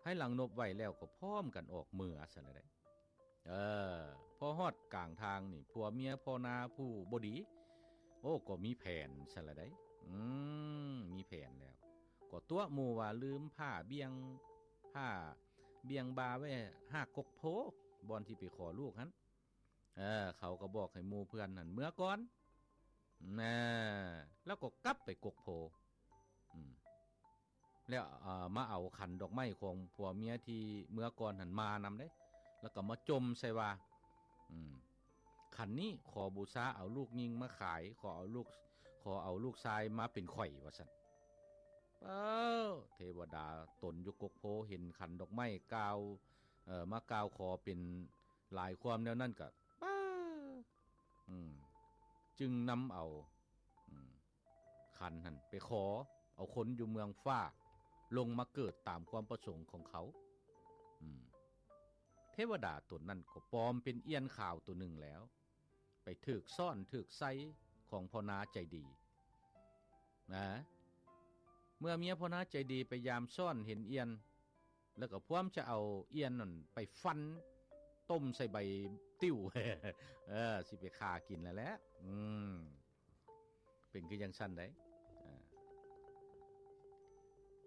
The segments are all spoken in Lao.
ພາຍຫຼັງນົບໄຫວ້ແລ້ວກໍພ້ອມກັນອອກເມືອຊັ້ນລະເດ້. ເອີ ພໍຮອດກາງທາງນີ້ ຜົວເມຍພໍ່ນາຜູ້ບໍ່ດີ ໂອ້ ກໍມີແຜນຊັ້ນລະເດ້. ອືມ ມີແຜນແລ້ວ ກໍຕົວະໝູ່ວ່າລືມຜ້າບ່ຽງ ຜ້າບ່ຽງບ່າໄວ້ຮາກກົກໂພ ບ່ອນທີ່ໄປຂໍລູກຫັ້ນ. ເອີ ເຂົາກໍບອກໃຫ້ໝູ່ເພື່ອນຫັ້ນເມືອກ່ອນ ນະ ແລ້ວກໍກັບໄປກົກໂພ. ອືມ ແລ້ວ ເອີ ມາເອົາຂັນດອກໄມ້ຂອງຜົວເມຍທີ່ເມືອກ່ອນຫັ້ນມານຳເດ້ ແລ້ວກໍມາຈົ່ມໃສ່ວ່າ ອືມ ຂັນນີ້ຂໍບູຊາເອົາລູກຍິງມາຂາຍ ຂໍເອົາລູກ ຂໍເອົາລູກຊາຍມາເປັນຂ້ອຍ ວ່າຊັ້ນ. ເອີ ເທວະດາຕົນຢູ່ກົກໂພເຫັນຂັນດອກໄມ້ກ່າວ ເອີ ມາກ່າວຂໍເປັນຫຼາຍຄວາມແນວນັ້ນກໍ ປາ ອືມ ຈຶ່ງນຳເອົາ ອືມ ຂັນຫັ້ນໄປຂໍເອົາຄົນຢູ່ເມືອງຟ້າລົງມາເກີດຕາມຄວາມປະສົງຂອງເຂົາ. ອືມ ເທວະດາຕົນນັ້ນກໍປອມເປັນອ່ຽນຂາວໂຕໜຶ່ງແລ້ວ ໄປຖືກຊ້ອນຖືກໃສ່ຂອງພໍ່ນາໃຈດີນະ. ເມື່ອເມຍພໍ່ນາໃຈດີໄປຢາມຊ້ອນເຫັນອ່ຽນ ແລ້ວກໍພວມຈະເອົາອ່ຽນນັ້ນໄປຟັນ ຕົ້ມໃສ່ໃບຕິ້ວ ເອີ ຊິໄປຂ້າກິນແລ້ວແຫຼະ. ອືມ ເປັນຄືຈັ່ງຊັ້ນໃດ໋. ອ່າ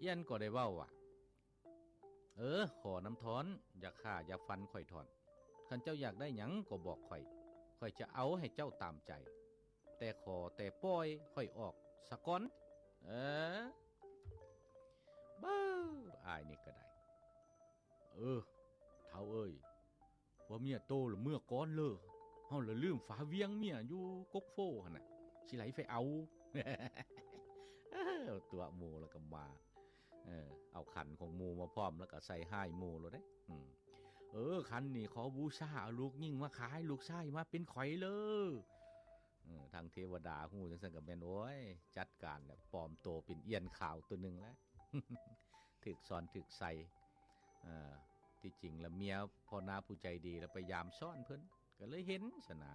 ອ່ຽນກໍໄດ້ເວົ້າວ່າ ເອີ ຂໍນຳທ່ອນ ຢ່າຂ້າຢ່າຟັນຂ້ອຍທ່ອນ. ຄັນເຈົ້າຢາກໄດ້ຫຍັງກໍບອກຂ້ອຍ ຂ້ອຍຈະເອົາໃຫ້ເຈົ້າຕາມໃຈ ແຕ່ຂໍແຕ່ປ່ອຍຂ້ອຍອອກສາກ່ອນ. ເອີ ເບິ່ງອ້າຍນີ້ກໍໄດ້. ເອີ ທ້າວເອີຍ ວ່າເມຍໂຕລະເມືອກ່ອນເລີຍ ເຮົາລະລືມຝາວຽງເມຍຢູ່ກົກໂພຫັ້ນນະ ຊິໄຫຼໄປເອົາ. ເອີ ຕົວະໝູ່ແລ້ວກໍມາ ເອີ ເອົາຂັນຂອງໝູ່ມາພ້ອມ ແລ້ວກໍໃສ່ຮ້າຍໝູ່ໂລດເດ້. ອືມ ເອີ ຂັນນີ້ຂໍບູຊາເອົາລູກຍິງມາຂາຍ ລູກຊາຍມາເປັນຂ້ອຍເລີຍ. ເອີ ທາງເທວະດາຮູ້ຈັ່ງຊັ້ນກໍແມ່ນ ໂອ້ຍ ຈັດການແລ້ວ ປອມໂຕເປັນອ່ຽນຂາວໂຕໜຶ່ງແລ້ວ ຖືກຊ້ອນຖືກໃສ່. ເອີ ທີ່ຈິງລະເມຍພໍ່ນາຜູ້ໃຈດີລະໄປຢາມຊ້ອນເພິ່ນ ກໍເລີຍເຫັນຊັ້ນນາ.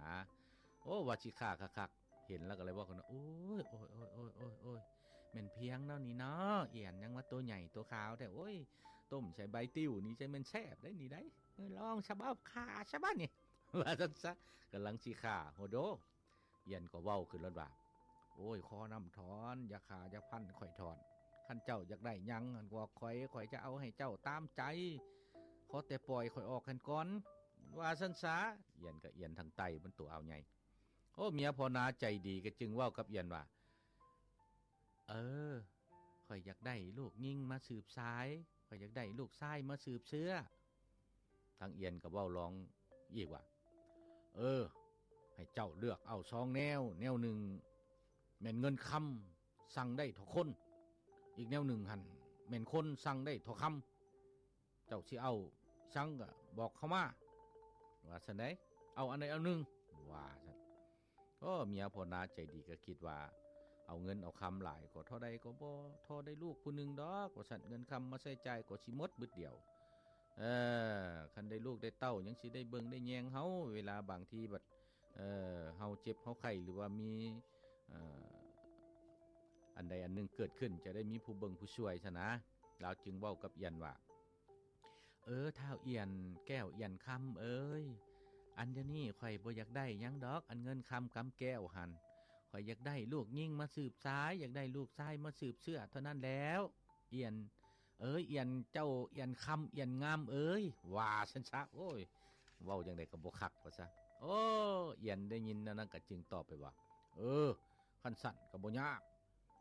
ໂອ້ ວ່າຊິຂ້າຄັກໆ ເຫັນແລ້ວກໍເລີຍເວົ້າກັນວ່າ ໂອ້ຍ ໂອ້ຍ ໂອ້ຍ ໂອ້ຍ ໂອ້ຍ ໂອ້ຍ ແມ່ນພຽງເນາະນີ້ເນາະ ອ່ຽນຫຍັງວ່າໂຕໃຫຍ່ໂຕຂາວແທ້ ໂອ້ຍ ຕົ້ມໃສ່ໃບຕິ້ວນີ້ຈັ່ງແມ່ນແຊບໄດ໋ນີ້ໄດ໋ ເອີ ລອງຊະ ເອົາຂ້າຊະບາດນີ້ ວ່າຊັ້ນຊະ. ກຳລັງຊິຂ້າ ໂຫໂດ ອ່ຽນກໍເວົ້າຂຶ້ນໂລດວ່າ ໂອ້ຍ ຂໍນຳທ່ອນ ຢ່າຂ້າຢ່າຟັນຂ້ອຍທ່ອນ ຄັນເຈົ້າຢາກໄດ້ຫຍັງຫັ້ນບອກຂ້ອຍ ຂ້ອຍຈະເອົາໃຫ້ເຈົ້າຕາມໃຈ ຂໍແຕ່ປ່ອຍຂ້ອຍອອກຫັ້ນກ່ອນ ວ່າຊັ້ນຊະ. ອ່ຽນກໍອ່ຽນທາງໃຕ້ ມັນໂຕອາວໃຫຍ່. ໂອ້ ເມຍພໍ່ນາໃຈດີກໍຈຶ່ງເວົ້າກັບອ່ຽນວ່າ ເອີ ຂ້ອຍຢາກໄດ້ລູກຍິງມາສືບສາຍ ຂ້ອຍຢາກໄດ້ລູກຊາຍມາສືບເຊື້ອ. ທາງອ່ຽນກໍເວົ້າລອງອີກວ່າ ເອີ ໃຫ້ເຈົ້າເລືອກເອົາສອງແນວ ແນວໜຶ່ງແມ່ນເງິນຄຳສັ່ງໄດ້ທໍ່ຄົນ ອີກແນວໜຶ່ງຫັ້ນແມ່ນຄົນສັ່ງໄດ້ທໍ່ຄຳ ເຈົ້າຊິເອົາສັງກໍບອກເຂົ້າມາ ວ່າຊັ້ນໃດ໋ ເອົາອັນໃດເອົາໜຶ່ງ ວ່າຊັ້ນ. ໂອ້ ເມຍພໍ່ນາໃຈດີກໍຄິດວ່າ ເອົາເງິນເອົາຄຳຫຼາຍກໍທໍ່ໃດກໍບໍ່ທໍ່ໄດ້ລູກຜູ້ໜຶ່ງດອກ ວ່າຊັ້ນ ເງິນຄຳມາໃຊ້ຈ່າຍກໍຊິໝົດບຶດດຽວ. ເອີ ຄັນໄດ້ລູກໄດ້ເຕົ້າຍັງຊິໄດ້ເບິ່ງໄດ້ແຍງເຮົາ ເວລາບາງທີບັດ ເອີ ເຮົາເຈັບເຮົາໄຂ້ ຫຼືວ່າມີ ເອີ ອັນໃດອັນໜຶ່ງເກີດຂຶ້ນ ຈະໄດ້ມີຜູ້ເບິ່ງຜູ້ຊ່ວຍຊັ້ນນາ. ລາວຈຶ່ງເວົ້າກັບອ່ຽນວ່າ ເອີ ທ້າວອ່ຽນແກ້ວອ່ຽນຄຳເອີຍ ອັນດຽວນີ້ຂ້ອຍບໍ່ຢາກໄດ້ຫຍັງດອກ ອັນເງິນຄຳກຳແກ້ວຫັ້ນ ຂ້ອຍຢາກໄດ້ລູກຍິງມາສືບສາຍ ຢາກໄດ້ລູກຊາຍມາສືບເຊື້ອເທົ່ານັ້ນແລ້ວ ອ່ຽນເອີຍ ອ່ຽນເຈົ້າອ່ຽນຄຳອ່ຽນງາມເອີຍ ວ່າຊັ້ນຊະ. ໂອ້ຍ ເວົ້າຈັ່ງໃດກໍບໍ່ຄັກວ່າຊະ. ໂອ້ ອ່ຽນໄດ້ຍິນແນວນັ້ນກໍຈຶ່ງຕອບໄປວ່າ ເອີ ຄັນຊັ້ນກໍບໍ່ຍາກ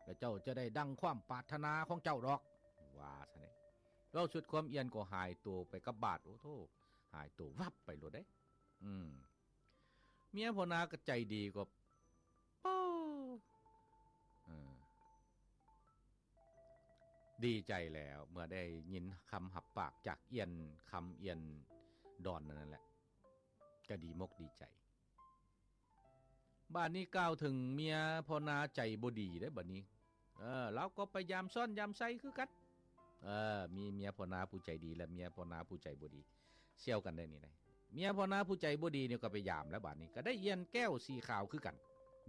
ແລະເຈົ້າຈະໄດ້ດັ່ງຄວາມປາດຖະໜາຂອງເຈົ້າດອກ ວ່າຊັ້ນເດ້. ເວົ້າສຸດຄວາມ ອ່ຽນກໍຫາຍໂຕໄປກັບບາດ ໂອ້ໂທ້ ຫາຍໂຕວັບໄປໂລດເດ້. ອືມ ເມຍພໍ່ນາກໍໃຈດີກໍ ເອີ ດີໃຈແລ້ວ ເມື່ອໄດ້ຍິນຄຳຮັບປາກຈາກອ່ຽນຄຳອ່ຽນດອນນັ້ນແຫຼະ ກໍດີມົກດີໃຈ. ບາດນີ້ກ່າວເຖິງເມຍພໍ່ນາໃຈບໍ່ດີເດ້ບາດນີ້. ເອີ ລາວກໍໄປຢາມຊ້ອນຢາມໃສ່ຄືກັນ. ເອີ ມີເມຍພໍ່ນາຜູ້ໃຈດີ ແລະ ເມຍພໍ່ນາຜູ້ໃຈບໍ່ດີ ສ່ຽວກັນໄດ໋ນີ້ໄດ໋. ເມຍພໍ່ນາຜູ້ໃຈບໍ່ດີນີ້ກໍໄປຢາມແລ້ວ ບາດນີ້ກໍໄດ້ອ່ຽນແກ້ວສີຂາວຄືກັນ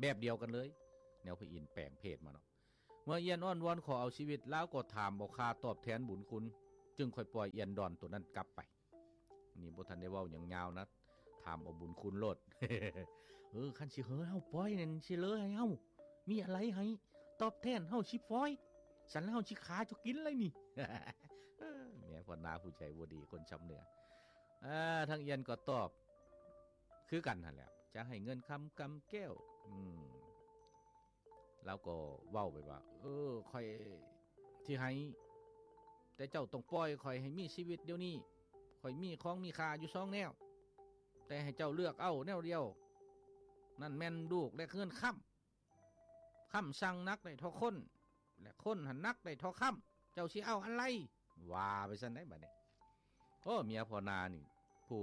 ແບບດຽວກັນເລີຍ ແນວພະອິນແປງເພດມາເນາະ. ເມື່ອອ່ຽນອ້ອນວອນຂໍເອົາຊີວິດ ລາວກໍຖາມເອົາຄ່າຕອບແທນບຸນຄຸນ ຈຶ່ງຄ່ອຍປ່ອຍອ່ຽນດອນໂຕນັ້ນກັບໄປ. ນີ້ບໍ່ທັນໄດ້ເວົ້າຫຍັງຍາວນະ ຖາມເອົາບຸນຄຸນໂລດ. ເອີ ຄັນຊິເຫີເຮົາປ່ອຍນັ້ນ ຊິເລີໃຫ້ເຮົາ ມີອາໄລໃຫ້ຕອບແທນ ເຮົາຊິປ່ອຍ ສັນແລ້ວເຮົາຊິຂ້າເຈົ້າກິນເລີຍນີ້. ເອີ ເມຍພໍ່ນາຜູ້ໃຈບໍ່ດີ ຄົນຊຳເໜືອ. ເອີ ທາງອ່ຽນກໍຕອບຄືກັນຫັ້ນແຫຼະ ຈະໃຫ້ເງິນຄຳກຳແກ້ວ. ອືມ ລາວກໍເວົ້າໄປວ່າ ເອີ ຂ້ອຍຊິໃຫ້ ແຕ່ເຈົ້າຕ້ອງປ່ອຍຂ້ອຍໃຫ້ມີຊີວິດດຽວນີ້. ຂ້ອຍມີຂອງມີຄ່າຢູ່ສອງແນວ ແຕ່ໃຫ້ເຈົ້າເລືອກເອົາແນວດຽວ ນັ້ນແມ່ນລູກ ແລະ ເຮືອນຄຳ. ຄຳຊັ່ງໜັກໄດ້ເທົ່າຄົນ ແລະ ຄົນຫັ້ນໜັກໄດ້ເທົ່າຄຳ. ເຈົ້າຊິເອົາອັນໃດ? ວ່າໄປຊັ້ນໃດ໋ບາດນີ້. ໂອ້ ເມຍພໍ່ນານີ້ ຜູ້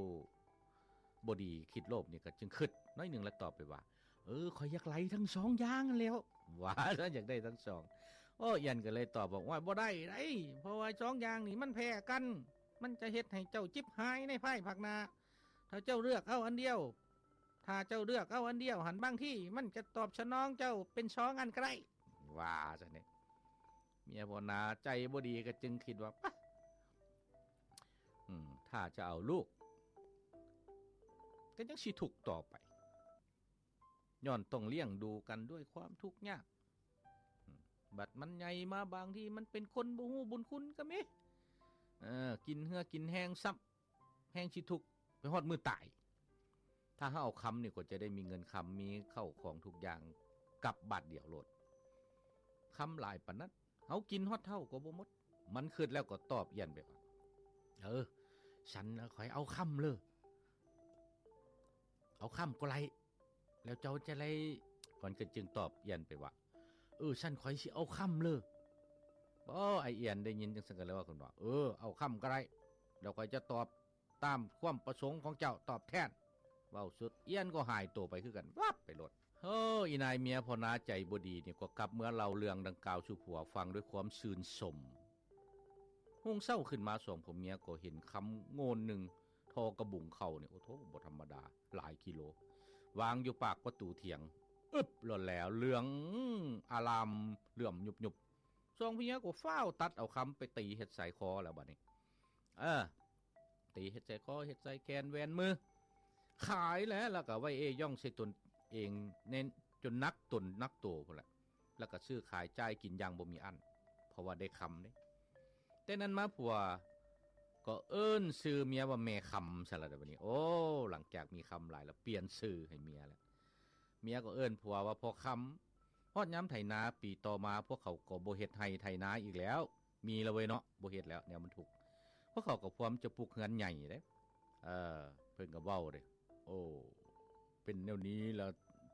ບໍ່ດີຄິດໂລບນີ້ກໍຈຶ່ງຄິດໜ້ອຍໜຶ່ງ ແລ້ວຕອບໄປວ່າ ເອີ ຂ້ອຍຢາກໄດ້ທັງສອງຢ່າງຫັ້ນແຫຼ້ວ. ວ່າຊັ້ນ ຢາກໄດ້ທັງສອງ. ໂອ້ ອ່ຽນກໍເລີຍຕອບບອກ ໂອ້ຍ ບໍ່ໄດ້ໃດ໋ ເພາະວ່າສອງຢ່າງນີ້ມັນແພ້ກັນ ມັນຈະເຮັດໃຫ້ເຈົ້າຈິບຫາຍໃນພາຍພາກໜ້າ. ຖ້າເຈົ້າເລືອກເອົາອັນດຽວ ຖ້າເຈົ້າເລືອກເອົາອັນດຽວຫັ້ນ ບາງທີມັນຈະຕອບສະໜອງເຈົ້າເປັນສອງອັນກໍໄດ້. ວ່າຊັ້ນເດ. ເມຍພໍ່ນາໃຈບໍ່ດີກໍຈຶ່ງຄິດວ່າ ປະ ອືມ ຖ້າຈະເອົາລູກ ກໍຍັງຊິທຸກຕໍ່ໄປ ຍ້ອນຕ້ອງລ້ຽງດູກັນດ້ວຍຄວາມທຸກຍາກ. ອືມ ບັດມັນໃຫຍ່ມາ ບາງທີມັນເປັນຄົນບໍ່ຮູ້ບຸນຄຸນກໍມີ. ເອີ ກິນເຫື່ອກິນແຮງຊ້ຳ ແຮງຊິທຸກໄປຮອດມື້ຕາຍ. ຖ້າເຮົາເອົາຄຳນີ້ກໍຈະໄດ້ມີເງິນຄຳ ມີເຂົ້າຂອງທຸກຢ່າງກັບບາດດຽວໂລດ. ຄຳຫຼາຍປານນັ້ນ ເຮົາກິນຮອດເຖົ້າກໍບໍ່ໝົດ. ມັນຄິດແລ້ວກໍຕອບອ່ຽນໄປວ່າ ເອີ ສັນຂ້ອຍເອົາຄຳເລີ ເອົາຄຳກໍໄດ້ ແລ້ວເຈົ້າຈະໄດ້. ມັນກໍຈຶ່ງຕອບອ່ຽນໄປວ່າ ເອີ ສັນຂ້ອຍຊິເອົາຄຳເລີ. ໂອ້ ອ້າຍອ່ຽນໄດ້ຍິນຈັ່ງຊັ້ນກໍເລີຍວ່າຂຶ້ນວ່າ ເອີ ເອົາຄຳກໍໄດ້ ແລ້ວຂ້ອຍຈະຕອບ ຕາມຄວາມປະສົງຂອງເຈົ້າຕອບແທນ. ເວົ້າສຸດ ອ່ຽນກໍຫາຍໂຕໄປຄືກັນ ວັບໄປໂລດ. ໂອ້ ອີນາຍເມຍພໍ່ນາໃຈບໍ່ດີນີ້ກໍກັບເມືອເລົ່າເລື່ອງດັ່ງກ່າວສູ່ຜົວຟັງດ້ວຍຄວາມຊື່ນຊົມ. ຮຸ່ງເຊົ້າຂຶ້ນມາ ສອງຜົວເມຍກໍເຫັນຄຳໂງ່ນໜຶ່ງ ທໍ່ກະບຸງເຂົ້ານີ້ ໂອ້ໂທ້ ບໍ່ທຳມະດາ ຫຼາຍກິໂລ ວາງຢູ່ປາກປະຕູຖຽງ ອຶບ ໂລດແລ້ວ ເຫຼືອງອາລາມ ເຫຼື້ອມຍຸບໆ. ສອງຜົວເມຍກໍຟ້າວຕັດເອົາຄຳໄປຕີເຮັດສາຍຄໍແລ້ວບັດນີ້ ເອີ ຕີເຮັດສາຍຄໍ ເຮັດສາຍແຂນ ແຫວນມື ຂາຍແລ້ວ ແລ້ວກໍໄວ້ເອ້ຍ້ອງໃສ່ຕົນເອງ ເນັ້ນຈົນໜັກຕົນໜັກໂຕພຸ້ນແຫຼະ ແລ້ວກໍຊື້ຂາຍຈ່າຍກິນຢ່າງບໍ່ມີອັ້ນ ເພາະວ່າໄດ້ຄຳເດ້. ແຕ່ນັ້ນມາຜົວກໍເອີ້ນຊື່ເມຍວ່າແມ່ຄຳຊະລະເດບັດນີ້. ໂອ້ ຫຼັງຈາກມີຄຳຫຼາຍແລ້ວ ປ່ຽນຊື່ໃຫ້ເມຍແລ້ວ. ເມຍກໍເອີ້ນຜົວວ່າພໍ່ຄຳ. ຮອດຍາມໄຖນາປີຕໍ່ມາ ພວກເຂົາກໍບໍ່ເຮັດໄຮ່ໄຖນາອີກແລ້ວ. ມີແລ້ວເວີຍເນາະ ບໍ່ເຮັດແລ້ວ ແນວມັນທຸກ. ພວກເຂົາກໍພວມຈະປຸກເຮືອນໃຫຍ່ເດ້. ເອີ ເພິ່ນກໍເວົ້າເດ້ ໂອ້ ເປັນແນວນີ້ລະ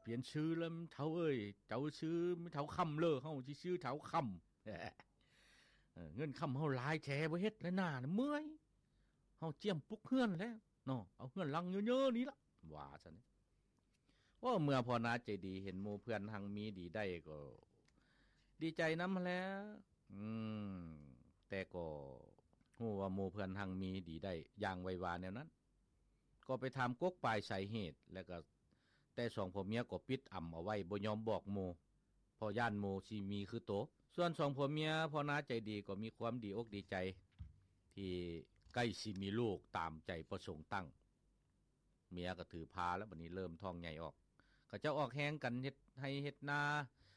ປ່ຽນຊື່ລະເຖົ້າເອີຍ ເຈົ້າຊື່ເຖົ້າຄຳເລີ ເຮົາຊິຊື່ເຖົ້າຄຳ. ເອີ ເງິນຄຳເຮົາຫຼາຍແທ້ ບໍ່ເຮັດແລ້ວນາ ເມື່ອຍ ເຮົາຈຽມປຸກເຮືອນແລ້ວເນາະ ເອົາເຮືອນຫຼັງເຍີໆນີ້ລະ ວ່າຊັ້ນ. ໂອ້ ເມື່ອພໍ່ນາໃຈດີເຫັນໝູ່ເພື່ອນຮັ່ງມີດີໄດ້ກໍດີໃຈນຳຫັ້ນແຫຼະ. ອືມ ແຕ່ກໍຮູ້ວ່າໝູ່ເພື່ອນຮັ່ງມີດີໄດ້ຢ່າງໄວວາແນວນັ້ນ ກໍໄປຖາມກົກປາຍສາເຫດ ແລ້ວກໍ ແຕ່ສອງຜົວເມຍກໍປິດອຳເອົາໄວ້ ບໍ່ຍອມບອກໝູ່ ເພາະຢ້ານໝູ່ຊິມີຄືໂຕ. ສ່ວນສອງຜົວເມຍພໍ່ນາໃຈດີກໍມີຄວາມດີອົກດີໃຈ ທີ່ໃກ້ຊິມີລູກຕາມໃຈປະສົງຕັ້ງ. ເມຍກໍຖືພາແລ້ວ ບັດນີ້ເລີ່ມທ້ອງໃຫຍ່ອອກ ເຂົາເຈົ້າອອກແຮງກັນເຮັດໄຮ່ເຮັດນາ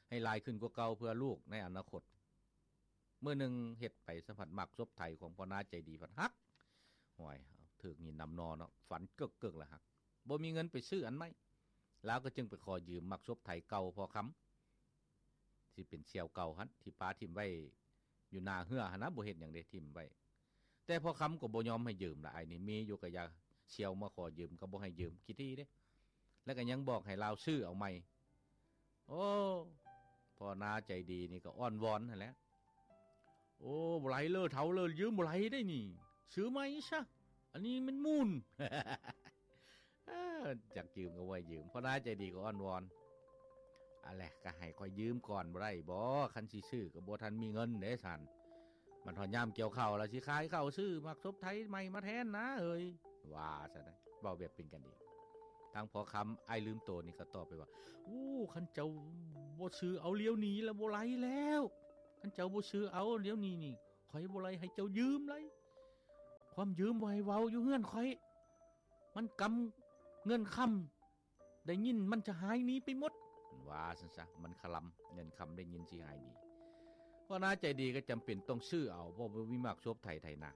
ໃຫ້ຫຼາຍຂຶ້ນກວ່າເກົ່າ ເພື່ອລູກໃນອະນາຄົດ. ມື້ໜຶ່ງເຮັດໄປສະພັດໝາກສົບໄຖຂອງພໍ່ນາໃຈດີພັດຫັກ. ໂອ້ຍ ຖືກຫີນນຳໜໍ່ເນາະ ຝັນເກີກໆລະຫັກ. ບໍ່ມີເງິນໄປຊື້ອັນໃໝ່ ລາວກໍຈຶ່ງໄປຂໍຢືມໝາກສົບໄຖເກົ່າພໍ່ຄຳ ທີ່ເປັນສ່ຽວເກົ່າຫັ້ນ ທີ່ປາຖິ້ມໄວ້ຢູ່ໜ້າເຮືອຫັ້ນນະ ບໍ່ເຮັດຫຍັງເດ້ ຖິ້ມໄວ້. ແຕ່ພໍ່ຄຳກໍບໍ່ຍອມໃຫ້ຢືມລະ ອ້າຍນີ້ມີຢູ່ກໍຢ່າ ສ່ຽວມາຂໍຢືມກໍບໍ່ໃຫ້ຢືມ ຂີ້ຖີ່ເດ້ ແລ້ວກໍຍັງບອກໃຫ້ລາວຊື້ເອົາໃໝ່. ໂອ້ ພໍ່ນາໃຈດີນີ້ກໍອ້ອນວອນຫັ້ນແຫຼະ. ໂອ້ ບໍ່ໄຫຼເລີເຖົ້າເລີ ຢືມບໍ່ໄຫຼໄດ້ນີ້ ຊື້ໃໝ່ຊະ ອັນນີ້ມັນມູນ. ເອີ ຢາກຢືມກໍບໍ່ໃຫ້ຢືມ ພໍ່ນາໃຈດີກໍອ້ອນວອນ. ອັນແຫຼະ ກໍໃຫ້ຂ້ອຍຢືມກ່ອນບໍ່ໄດ້ບໍ? ຄັນຊິຊື້ກໍບໍ່ທັນມີເງິນເດ້ຊັ້ນ. ມັນຮອດຍາມກ່ຽວເຂົ້າລະ ຊິຂາຍເຂົ້າຊື້ໝາກສົບໄຖໃໝ່ມາແທນນາເອີຍ ວ່າຊັ້ນນະ ເວົ້າແບບເປັນກັນເອງ. ທາງພໍ່ຄຳອ້າຍລືມໂຕນີ້ກໍຕອບໄປວ່າ ໂອ້ ຄັນເຈົ້າບໍ່ຊື້ເອົາດຽວນີ້ລະບໍ່ໄຫຼແລ້ວ ຄັນເຈົ້າບໍ່ຊື້ເອົາດຽວນີ້ນີ້ ຂ້ອຍບໍ່ໄຫຼໃຫ້ເຈົ້າຢືມໄຫຼ. ຄວາມຢືມບໍ່ໃຫ້ເວົ້າຢູ່ເຮືອນຂ້ອຍ ມັນກຳເງິນຄຳ ໄດ້ຍິນມັນຈະຫາຍໜີໄປໝົດ ວ່າຊັ້ນຊະ. ມັນຄະລຳ ເງິນຄຳໄດ້ຍິນຊິຫາຍໜີ. ພໍ່ນາໃຈດີກໍຈຳເປັນຕ້ອງຊື້ເອົາ ເພາະບໍ່ມີໝາກສົບໄຖໄຖນາ.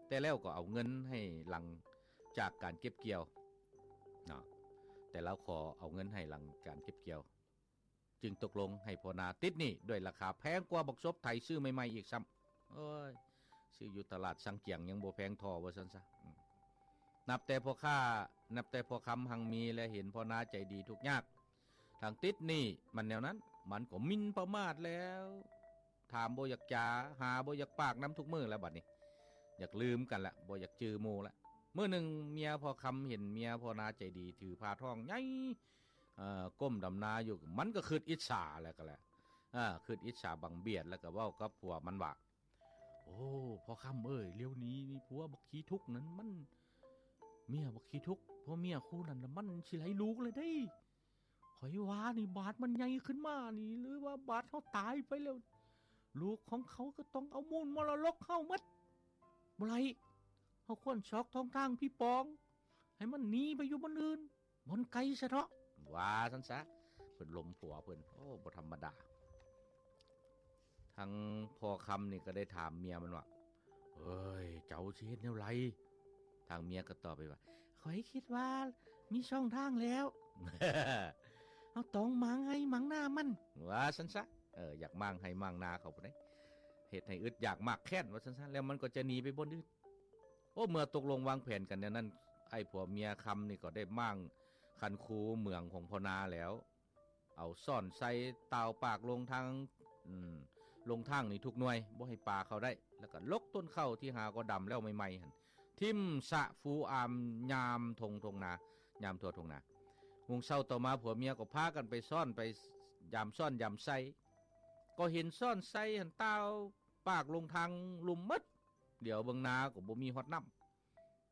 ແຕ່ແລ້ວກໍເອົາເງິນໃຫ້ຫຼັງຈາກການເກັບກ່ຽວເນາະ ແຕ່ລາວຂໍເອົາເງິນໃຫ້ຫຼັງການເກັບກ່ຽວ ຈຶ່ງຕົກລົງໃຫ້ພໍ່ນາຕິດໜີ້ດ້ວຍລາຄາແພງກວ່າບັກສົບໄຖຊື້ໃໝ່ໆອີກຊ້ຳ. ໂອ້ຍ ຊື້ຢູ່ຕະຫຼາດສັງກຽງຍັງບໍ່ແພງທໍ່ ວ່າຊັ້ນຊະ. ອືມ ນັບແຕ່ພໍ່ຄ້າ ນັບແຕ່ພໍ່ຄຳຮັ່ງມີ ແລະ ເຫັນພໍ່ນາໃຈດີທຸກຍາກ ທັງຕິດໜີ້ມັນແນວນັ້ນ ມັນກໍໝິ່ນປະໝາດແລ້ວ ຖາມບໍ່ຢາກຈາ ຫາບໍ່ຢາກປາກນຳທຸກມື້ແລ້ວ ບັດນີ້ຢາກລືມກັນລະ ບໍ່ຢາກຈື່ໝູ່ລະ. ມື້ໜຶ່ງເມຍພໍ່ຄຳເຫັນເມຍພໍ່ນາໃຈດີຖືພາທ້ອງໃຫຍ່ ເອີ ກົ້ມດຳນາຢູ່ ມັນກໍຄຶດອິດສາແລ້ວກໍແຫຼະ ເອີ ຄຶດອິດສາບັງບຽດ ແລ້ວກໍເວົ້າກັບຜົວມັນວ່າ ໂອ້ ພໍ່ຄຳເອີຍ ລຽວນີ້ນີ້ຜົວບັກຂີ້ທຸກນັ້ນ ມັນ ເມຍບັກຂີ້ທຸກ ຜົວເມຍຄູ່ນັ້ນລະ ມັນຊິໄລ່ລູກແລ້ວເດ້. ຂ້ອຍວ່ານີ້ ບາດມັນໃຫຍ່ຂຶ້ນມານີ້ ຫຼືວ່າບາດເຮົາຕາຍໄປແລ້ວ ລູກຂອງເຂົາກໍຕ້ອງເອົາມູນມໍລະດົກເຮົາໝົດ. ບໍ່ໄດ້ ເຮົາຄວນຊອກຊ່ອງທາງຜີປອງ ໃຫ້ມັນໜີໄປຢູ່ບ່ອນອື່ນ ບ່ອນໄກຊະເທາະ ວ່າຊັ້ນຊະ. ເພິ່ນລົມຜົວເພິ່ນ ໂອ້ ບໍ່ທຳມະດາ. ທາງພໍ່ຄຳນີ້ກໍໄດ້ຖາມເມຍມັນວ່າ ເອີຍ ເຈົ້າຊິເຮັດແນວໃດ? ທາງເມຍກໍຕອບໄປວ່າ ຂ້ອຍຄິດວ່າມີຊ່ອງທາງແລ້ວ ເຮົາຕ້ອງມ້າງໄຮ່ມ້າງນາມັນ ວ່າຊັ້ນຊະ. ເອີ ຢາກມ້າງໄຮ່ມ້າງນາເຂົາພຸ້ນເດ້ ເຮັດໃຫ້ອຶດຢາກມາກແຄ້ນ ວ່າຊັ້ນຊະ ແລ້ວມັນກໍຈະໜີໄປບ່ອນອື່ນ. ໂອ້ ເມື່ອຕົກລົງວາງແຜນກັນແນວນັ້ນ ໄອ້ຜົວເມຍຄຳນີ້ກໍໄດ້ມ້າງຄັນຄູເໝືອງຂອງພໍ່ນາແລ້ວ ເອົາຊ້ອນໃສ່ຕ່າວປາກລົງທາງ ອືມ ລົງທາງນີ້ທຸກໜ່ວຍ ບໍ່ໃຫ້ປາເຂົ້າໄດ້ ແລ້ວກໍຫຼົກຕົ້ນເຂົ້າທີ່ຫາກໍດຳແລ້ວໃໝ່ໆຫັ້ນ ຖິ້ມສະຟູອາມຍາມທົ່ງ ທົ່ງນາ ຍາມທົ່ວທົ່ງນາ. ຮຸ່ງເຊົ້າຕໍ່ມາ ຜົວເມຍກໍພາກັນໄປຊ້ອນ ໄປຍາມຊ້ອນຍາມໃສ່ ກໍເຫັນຊ້ອນໃສ່ຫັ້ນຕ່າວປາກລົງທາງລຸ່ມໝົດ ຫຼຽວເບິ່ງນາກໍບໍ່ມີຮອດນ້ຳ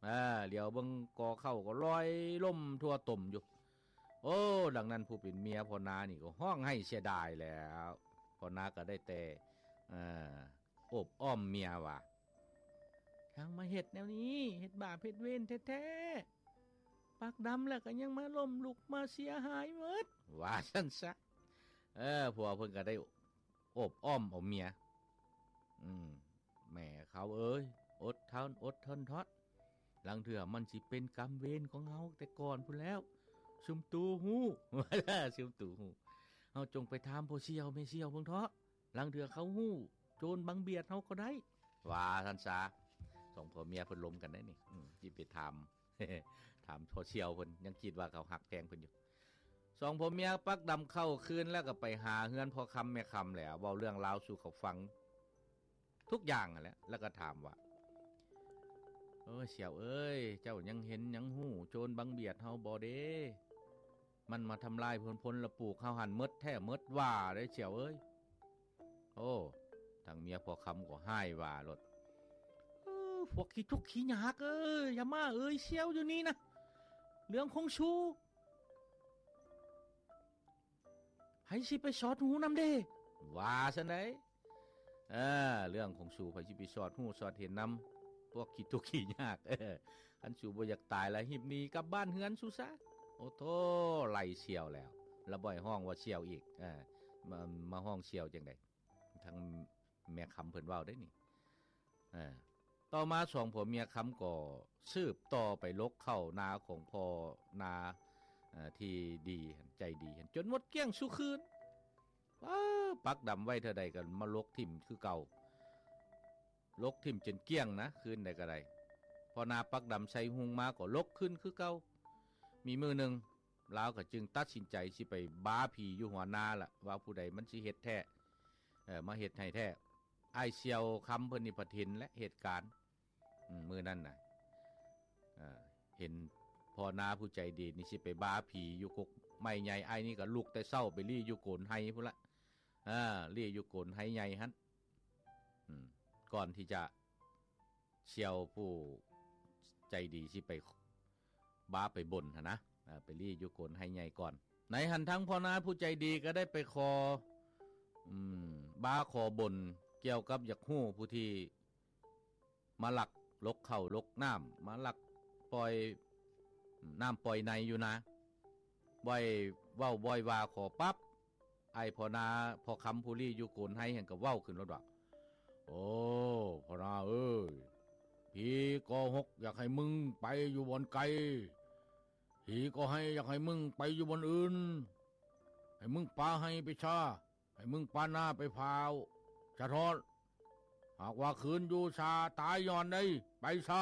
ເອີ ຫຼຽວເບິ່ງກໍເຂົ້າກໍລອຍລົມທົ່ວຕົມຢູ່. ໂອ້ ດັ່ງນັ້ນຜູ້ເປັນເມຍພໍ່ນານີ້ກໍຮ້ອງໄຫ້ເສຍດາຍແລ້ວ. ພໍ່ນາກໍໄດ້ແຕ່ ເອີ ໂອບອ້ອມເມຍວ່າ ຊ່າງມາເຮັດແນວນີ້ ເຮັດບາບເຮັດເວນແທ້ໆ ປາກດຳແລ້ວກໍຍັງມາລົ້ມລຸກມາເສຍຫາຍໝົດ ວ່າຊັ້ນຊະ. ເອີ ຜົວເພິ່ນກໍໄດ້ໂອບອ້ອມເອົາເມຍ ອືມ ແມ່ເຂົາເອີຍ ອົດທົນ ອົດທົນເທາະ ລາງເທື່ອມັນຊິເປັນກຳເວນຂອງເຮົາແຕ່ກ່ອນພຸ້ນແລ້ວ ຊຸມຕູຮູ້ ຊຸມຕູຮູ້ ເຮົາຈົ່ງໄປຖາມພໍ່ສ່ຽວແມ່ສ່ຽວເບິ່ງເທາະ ລາງເທື່ອເຂົາຮູ້ໂຈນບັງບຽດເຮົາກໍໄດ້ ວ່າຊັ້ນຊະ. ສອງຜົວເມຍເພິ່ນລົມກັນໄດ໋ນີ້ ອືມ ຊິໄປຖາມ ຖາມພໍ່ສ່ຽວເພິ່ນ ຍັງຄິດວ່າເຂົາຮັກແພງເພິ່ນຢູ່. ສອງຜົວເມຍປັກດຳເຂົ້າຄືນ ແລ້ວກໍໄປຫາເຮືອນພໍ່ຄຳແມ່ຄຳແຫຼະ ເວົ້າເລື່ອງລາວສູ່ເຂົາຟັງທຸກຢ່າງຫັ້ນແຫຼະ ແລ້ວກໍຖາມວ່າ ໂອ້ຍ ສ່ຽວເອີຍ ເຈົ້າຍັງເຫັນຍັງຮູ້ໂຈນບັງບຽດເຮົາບໍ່ເດ? ມັນມາທຳລາຍຜົນ ຜົນລະປູກເຮົາຫັ້ນໝົດແທ້ໝົດວ່າເດ້ສ່ຽວເອີຍ. ໂອ້ ທາງເມຍພໍ່ຄຳກໍຮ້າຍວ່າໂລດ ເອີ ພວກຂີ້ທຸກຂີ້ຍາກເອີຍ ຢ່າມາເອີ່ຍສ່ຽວຢູ່ນີ້ນະ ເລື່ອງຂອງສູ ໃຜຊິໄປສອດຮູ້ນຳເດ ວ່າຊັ້ນໃດ. ເອີ ເລື່ອງຂອງສູ ໃຜຊິໄປສອດຮູ້ສອດເຫັນນຳ ພວກຂີ້ທຸກຂີ້ຍາກ. ເອີ ຄັນສູບໍ່ຢາກຕາຍລະ ຮີບໜີກັບບ້ານເຮືອນສູຊະ. ໂອ້ໂທ້ ໄລ່ສ່ຽວແລ້ວ ລະບໍ່ໃຫ້ຮ້ອງວ່າສ່ຽວອີກ ເອີ ມາ ມາຮ້ອງສ່ຽວຈັ່ງໃດ. ທາງແມ່ຄຳເພິ່ນເວົ້າໄດ໋ນີ້. ເອີ ຕໍ່ມາສອງຜົວເມຍຄຳກໍສືບຕໍ່ໄປຫຼົກເຂົ້ານາຂອງພໍ່ນາ ເອີ ທີ່ດີ ໃຈດີ ຈົນໝົດກ້ຽງສູ່ຄືນ. ເອີ ປັກດຳໄວ້ເທື່ອໃດກໍມາຫຼົກຖິ້ມຄືເກົ່າ ຫຼົກຖິ້ມຈົນກ້ຽງນະ ຄືນໃດກໍໄດ້. ພໍນາປັກດຳໃສ່ຮຸ່ງມາກໍຫຼົກຄືນຄືເກົ່າ. ມີມື້ໜຶ່ງ ລາວກໍຈຶ່ງຕັດສິນໃຈຊິໄປບ້າຜີຢູ່ຫົວນາລະ ວ່າຜູ້ໃດມັນຊິເຮັດແທ້ ເອີ ມາເຮັດໃຫ້ແທ້. ອ້າຍສ່ຽວຄຳເພິ່ນນີ້ພັດເຫັນແລະເຫດການ ອືມ ມື້ນັ້ນນະ ເອີ ເຫັນພໍ່ນາຜູ້ໃຈດີນີ້ຊິໄປບ້າຜີຢູ່ກົກໄມ້ໃຫຍ່ ອ້າຍນີ້ກໍລຸກແຕ່ເຊົ້າໄປລີ້ຢູ່ໂກນໄຮພຸ້ນລະ ເອີ ລີ້ຢູ່ໂກນໄຮໃຫຍ່ຫັ້ນ ອືມ ກ່ອນທີ່ຈະ ສ່ຽວຜູ້ໃຈດີຊິໄປບ້າໄປບົນຫັ້ນນະ ເອີ ໄປລີ້ຢູ່ໂກນໄຮໃຫຍ່ກ່ອນ. ໃນຫັ້ນທັງພໍ່ນາຜູ້ໃຈດີກໍໄດ້ໄປຂໍ ອືມ ບ້າຂໍບົນກ່ຽວກັບຢາກຮູ້ຜູ້ທີ່ມາລັກ ຫຼົກເຂົ້າຫຼົກນ້ຳ ມາລັກປ່ອຍນ້ຳປ່ອຍໃນຢູ່ນາ. ບ່ອຍເວົ້າບ່ອຍວ່າຂໍປັບ ອ້າຍພໍ່ນາພໍ່ຄຳຜູ້ລີ້ຢູ່ໂກນໄຮຫັ້ນກໍເວົ້າຂຶ້ນໂລດວ່າ ໂອ້ ພໍ່ນາເອີຍ ຜີກໍຫົກຢາກໃຫ້ມຶງໄປຢູ່ບ່ອນໄກ ຜີກໍໄຮຢາກໃຫ້ມຶງໄປຢູ່ບ່ອນອື່ນ ໃຫ້ມຶງປາໄຮ່ໄປຊາ ໃຫ້ມຶງປານາໄປພາວສະທ້ອນ ຫາກວ່າຄືນຢູ່ຊາຕາຍຍ້ອນໃດ ໄປຊາ.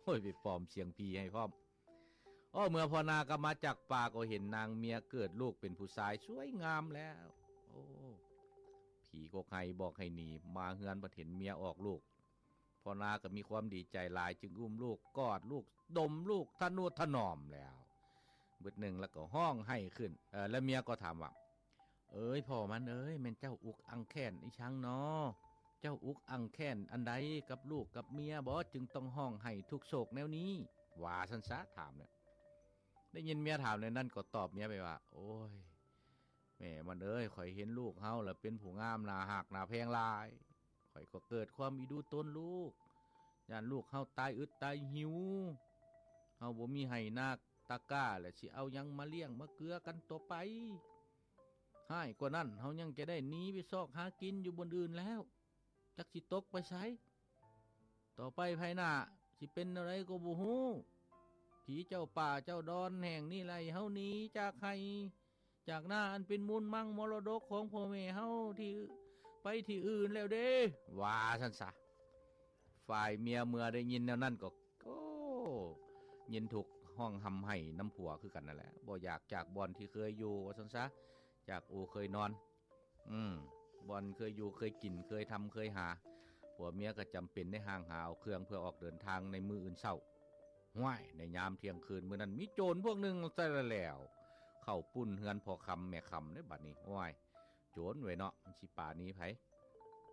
ໂອ້ຍ ໄປປອມສຽງຜີໃຫ້ພ້ອມ. ໂອ້ ເມື່ອພໍ່ນາກັບມາຈາກປ່າ ກໍເຫັນນາງເມຍເກີດລູກເປັນຜູ້ຊາຍສວຍງາມແລ້ວ. ໂອ້ ຜີກົກໄຮ່ບອກໃຫ້ໜີ ມາເຮືອນພັດເຫັນເມຍອອກລູກ. ພໍ່ນາກໍມີຄວາມດີໃຈຫຼາຍ ຈຶ່ງອຸ້ມລູກ ກອດລູກ ດົມລູກ ທະນຸຖະໜອມແລ້ວ. ບຶດໜຶ່ງແລ້ວກໍຮ້ອງໄຫ້ຂຶ້ນ. ເອີ ແລ້ວເມຍກໍຖາມວ່າ ເອີຍ ພໍ່ມັນເອີຍ ແມ່ນເຈົ້າອຸກອັ່ງແຄ້ນອີ່ສັງນໍ? ເຈົ້າອຸກອັ່ງແຄ້ນອັນໃດກັບລູກກັບເມຍບໍ ຈຶ່ງຕ້ອງຮ້ອງໄຫ້ທຸກໂສກແນວນີ້? ວ່າຊັ້ນສາ ຖາມແລ້ວ. ໄດ້ຍິນເມຍຖາມແນວນັ້ນ ກໍຕອບເມຍໄປວ່າ ໂອ້ຍ ແມ່ມັນເອີຍ ຂ້ອຍເຫັນລູກເຮົາລະເປັນຜູ້ງາມໜ້າຮັກໜ້າແພງຫຼາຍ ຂ້ອຍກໍເກີດຄວາມອີດູຕົນລູກ ຢ້ານລູກເຮົາຕາຍອຶດຕາຍຫິວ ເຮົາບໍ່ມີໄຮ່ນາຕາກ້າ ແລ້ວຊິເອົາຫຍັງມາລ້ຽງມາເກືອກັນຕໍ່ໄປ. ຮ້າຍກວ່ານັ້ນ ເຮົາຍັງຈະໄດ້ໜີໄປຊອກຫາກິນຢູ່ບ່ອນອື່ນແລ້ວ ຈັກຊິຕົກໄປໃສ. ຕໍ່ໄປພາຍໜ້າຊິເປັນແນວໃດກໍບໍ່ຮູ້. ຜີເຈົ້າປ່າເຈົ້າດອນແຫ່ງນີ້ໄລ່ເຮົາໜີຈາກໄຮ່ຈາກນາ ອັນເປັນມູນມັງມໍລະດົກຂອງພໍ່ແມ່ເຮົາທີ່ ໄປທີ່ອື່ນແລ້ວເດ້ ວ່າຊັ້ນສາ. ຝ່າຍເມຍເມື່ອໄດ້ຍິນແນວນັ້ນກໍ ໂອ້ ຍິນທຸກຮ້ອງຮ່ຳໄຫ້ນຳຜົວຄືກັນນັ້ນແຫຼະ ບໍ່ຢາກຈາກບ່ອນທີ່ເຄີຍຢູ່ ວ່າຊັ້ນສາ ຈາກອູ່ເຄີຍນອນ ອືມ ບ່ອນເຄີຍຢູ່ເຄີຍກິນ ເຄີຍທຳເຄີຍຫາ. ຜົວເມຍກໍຈຳເປັນໄດ້ຫ່າງຫາເອົາເຄື່ອງເພື່ອອອກເດີນທາງໃນມື້ອື່ນເຊົ້າ. ຫ້ວຍ ໃນຍາມທ່ຽງຄືນມື້ນັ້ນ ມີໂຈນພວກໜຶ່ງແຕ່ແລ້ວ ເຂົ້າປຸ້ນເຮືອນພໍ່ຄຳແມ່ຄຳເດ້ບັດນີ້. ໂອ້ຍ ໂຈນເວີຍເນາະ ມັນຊິປາໜີໃຜ.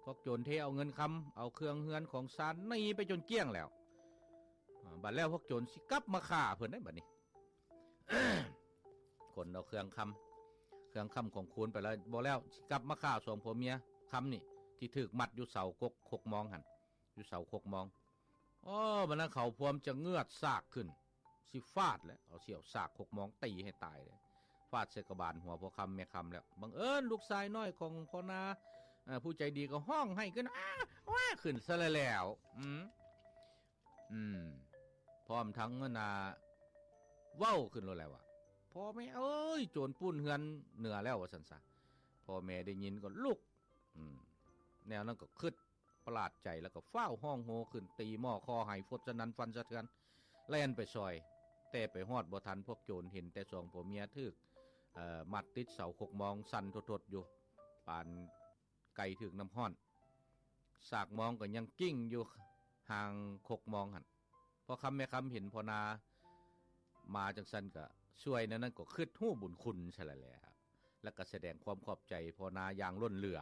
ພວກໂຈນເທເອົາເງິນຄຳ ເອົາເຄື່ອງເຮືອນຂອງຊານໜີໄປຈົນກ້ຽງແລ້ວ. ອາ ບັດແລ້ວພວກໂຈນຊິກັບມາຂ້າເພິ່ນໄດ໋ບັດນີ້. ຂົນເອົາເຄື່ອງຄຳ ເຄື່ອງຄຳຂອງຄູນໄປແລ້ວ ບໍ່ແລ້ວຊິກັບມາຂ້າສອງຜົວເມຍຄຳນີ້ ທີ່ຖືກມັດຢູ່ເສົາກົກຄົກມອງຫັ້ນ ຢູ່ເສົາຄົກມອງ. ໂອ້ ບັດນັ້ນເຂົາພວມຈະເງືອດສາກຂຶ້ນ ຊິຟາດແລ້ວ ເອົາສ່ຽວສາກຄົກມອງຕີໃຫ້ຕາຍເລີຍ ຟາດໃສ່ກະບານຫົວພໍ່ຄຳແມ່ຄຳແລ້ວ. ບັງເອີນລູກຊາຍນ້ອຍຂອງພໍ່ນາ ເອີ ຜູ້ໃຈດີກໍຮ້ອງໄຫ້ຂຶ້ນ ອ້າ ວ້າ ຂຶ້ນຊະແລ້ວ. ອືມ ອືມ ພ້ອມທັງອັນນ່າເວົ້າຂຶ້ນໂລດແຫຼະວ່າ ພໍ່ແມ່ເອີຍ ໂຈນປຸ້ນເຮືອນເໜືອແລ້ວ ວ່າຊັ້ນຊະ. ພໍ່ແມ່ໄດ້ຍິນກໍລຸກ ອືມ ແນວນັ້ນກໍຄຶດປະຫຼາດໃຈ ແລ້ວກໍຟ້າວຮ້ອງໂຮຂຶ້ນ ຕີໝໍ້ຄໍໃຫ້ຟົດສະໜັ່ນຟັນສະເທືອນ ແລ່ນໄປຊ່ອຍ. ແຕ່ໄປຮອດບໍ່ທັນພວກໂຈນ ເຫັນແຕ່ສອງຜົວເມຍຖືກ ເອີ ມັດຕິດເສົາຄົກມອງ ສັ່ນທົດໆຢູ່ ປານ ໄກ່ຖືກນ້ຳຮ້ອນ ສາກມອງກໍຍັງກິ້ງຢູ່ຫ່າງຄົກມອງຫັ້ນ. ພໍ່ຄຳແມ່ຄຳເຫັນພໍ່ນາມາຈັ່ງຊັ້ນກໍຊ່ວຍແນວນັ້ນ ກໍຄຶດຮູ້ບຸນຄຸນຊະແລ້ວ ແລ້ວກໍສະແດງຄວາມຂອບໃຈພໍ່ນາຢ່າງລົ້ນເຫຼືອ.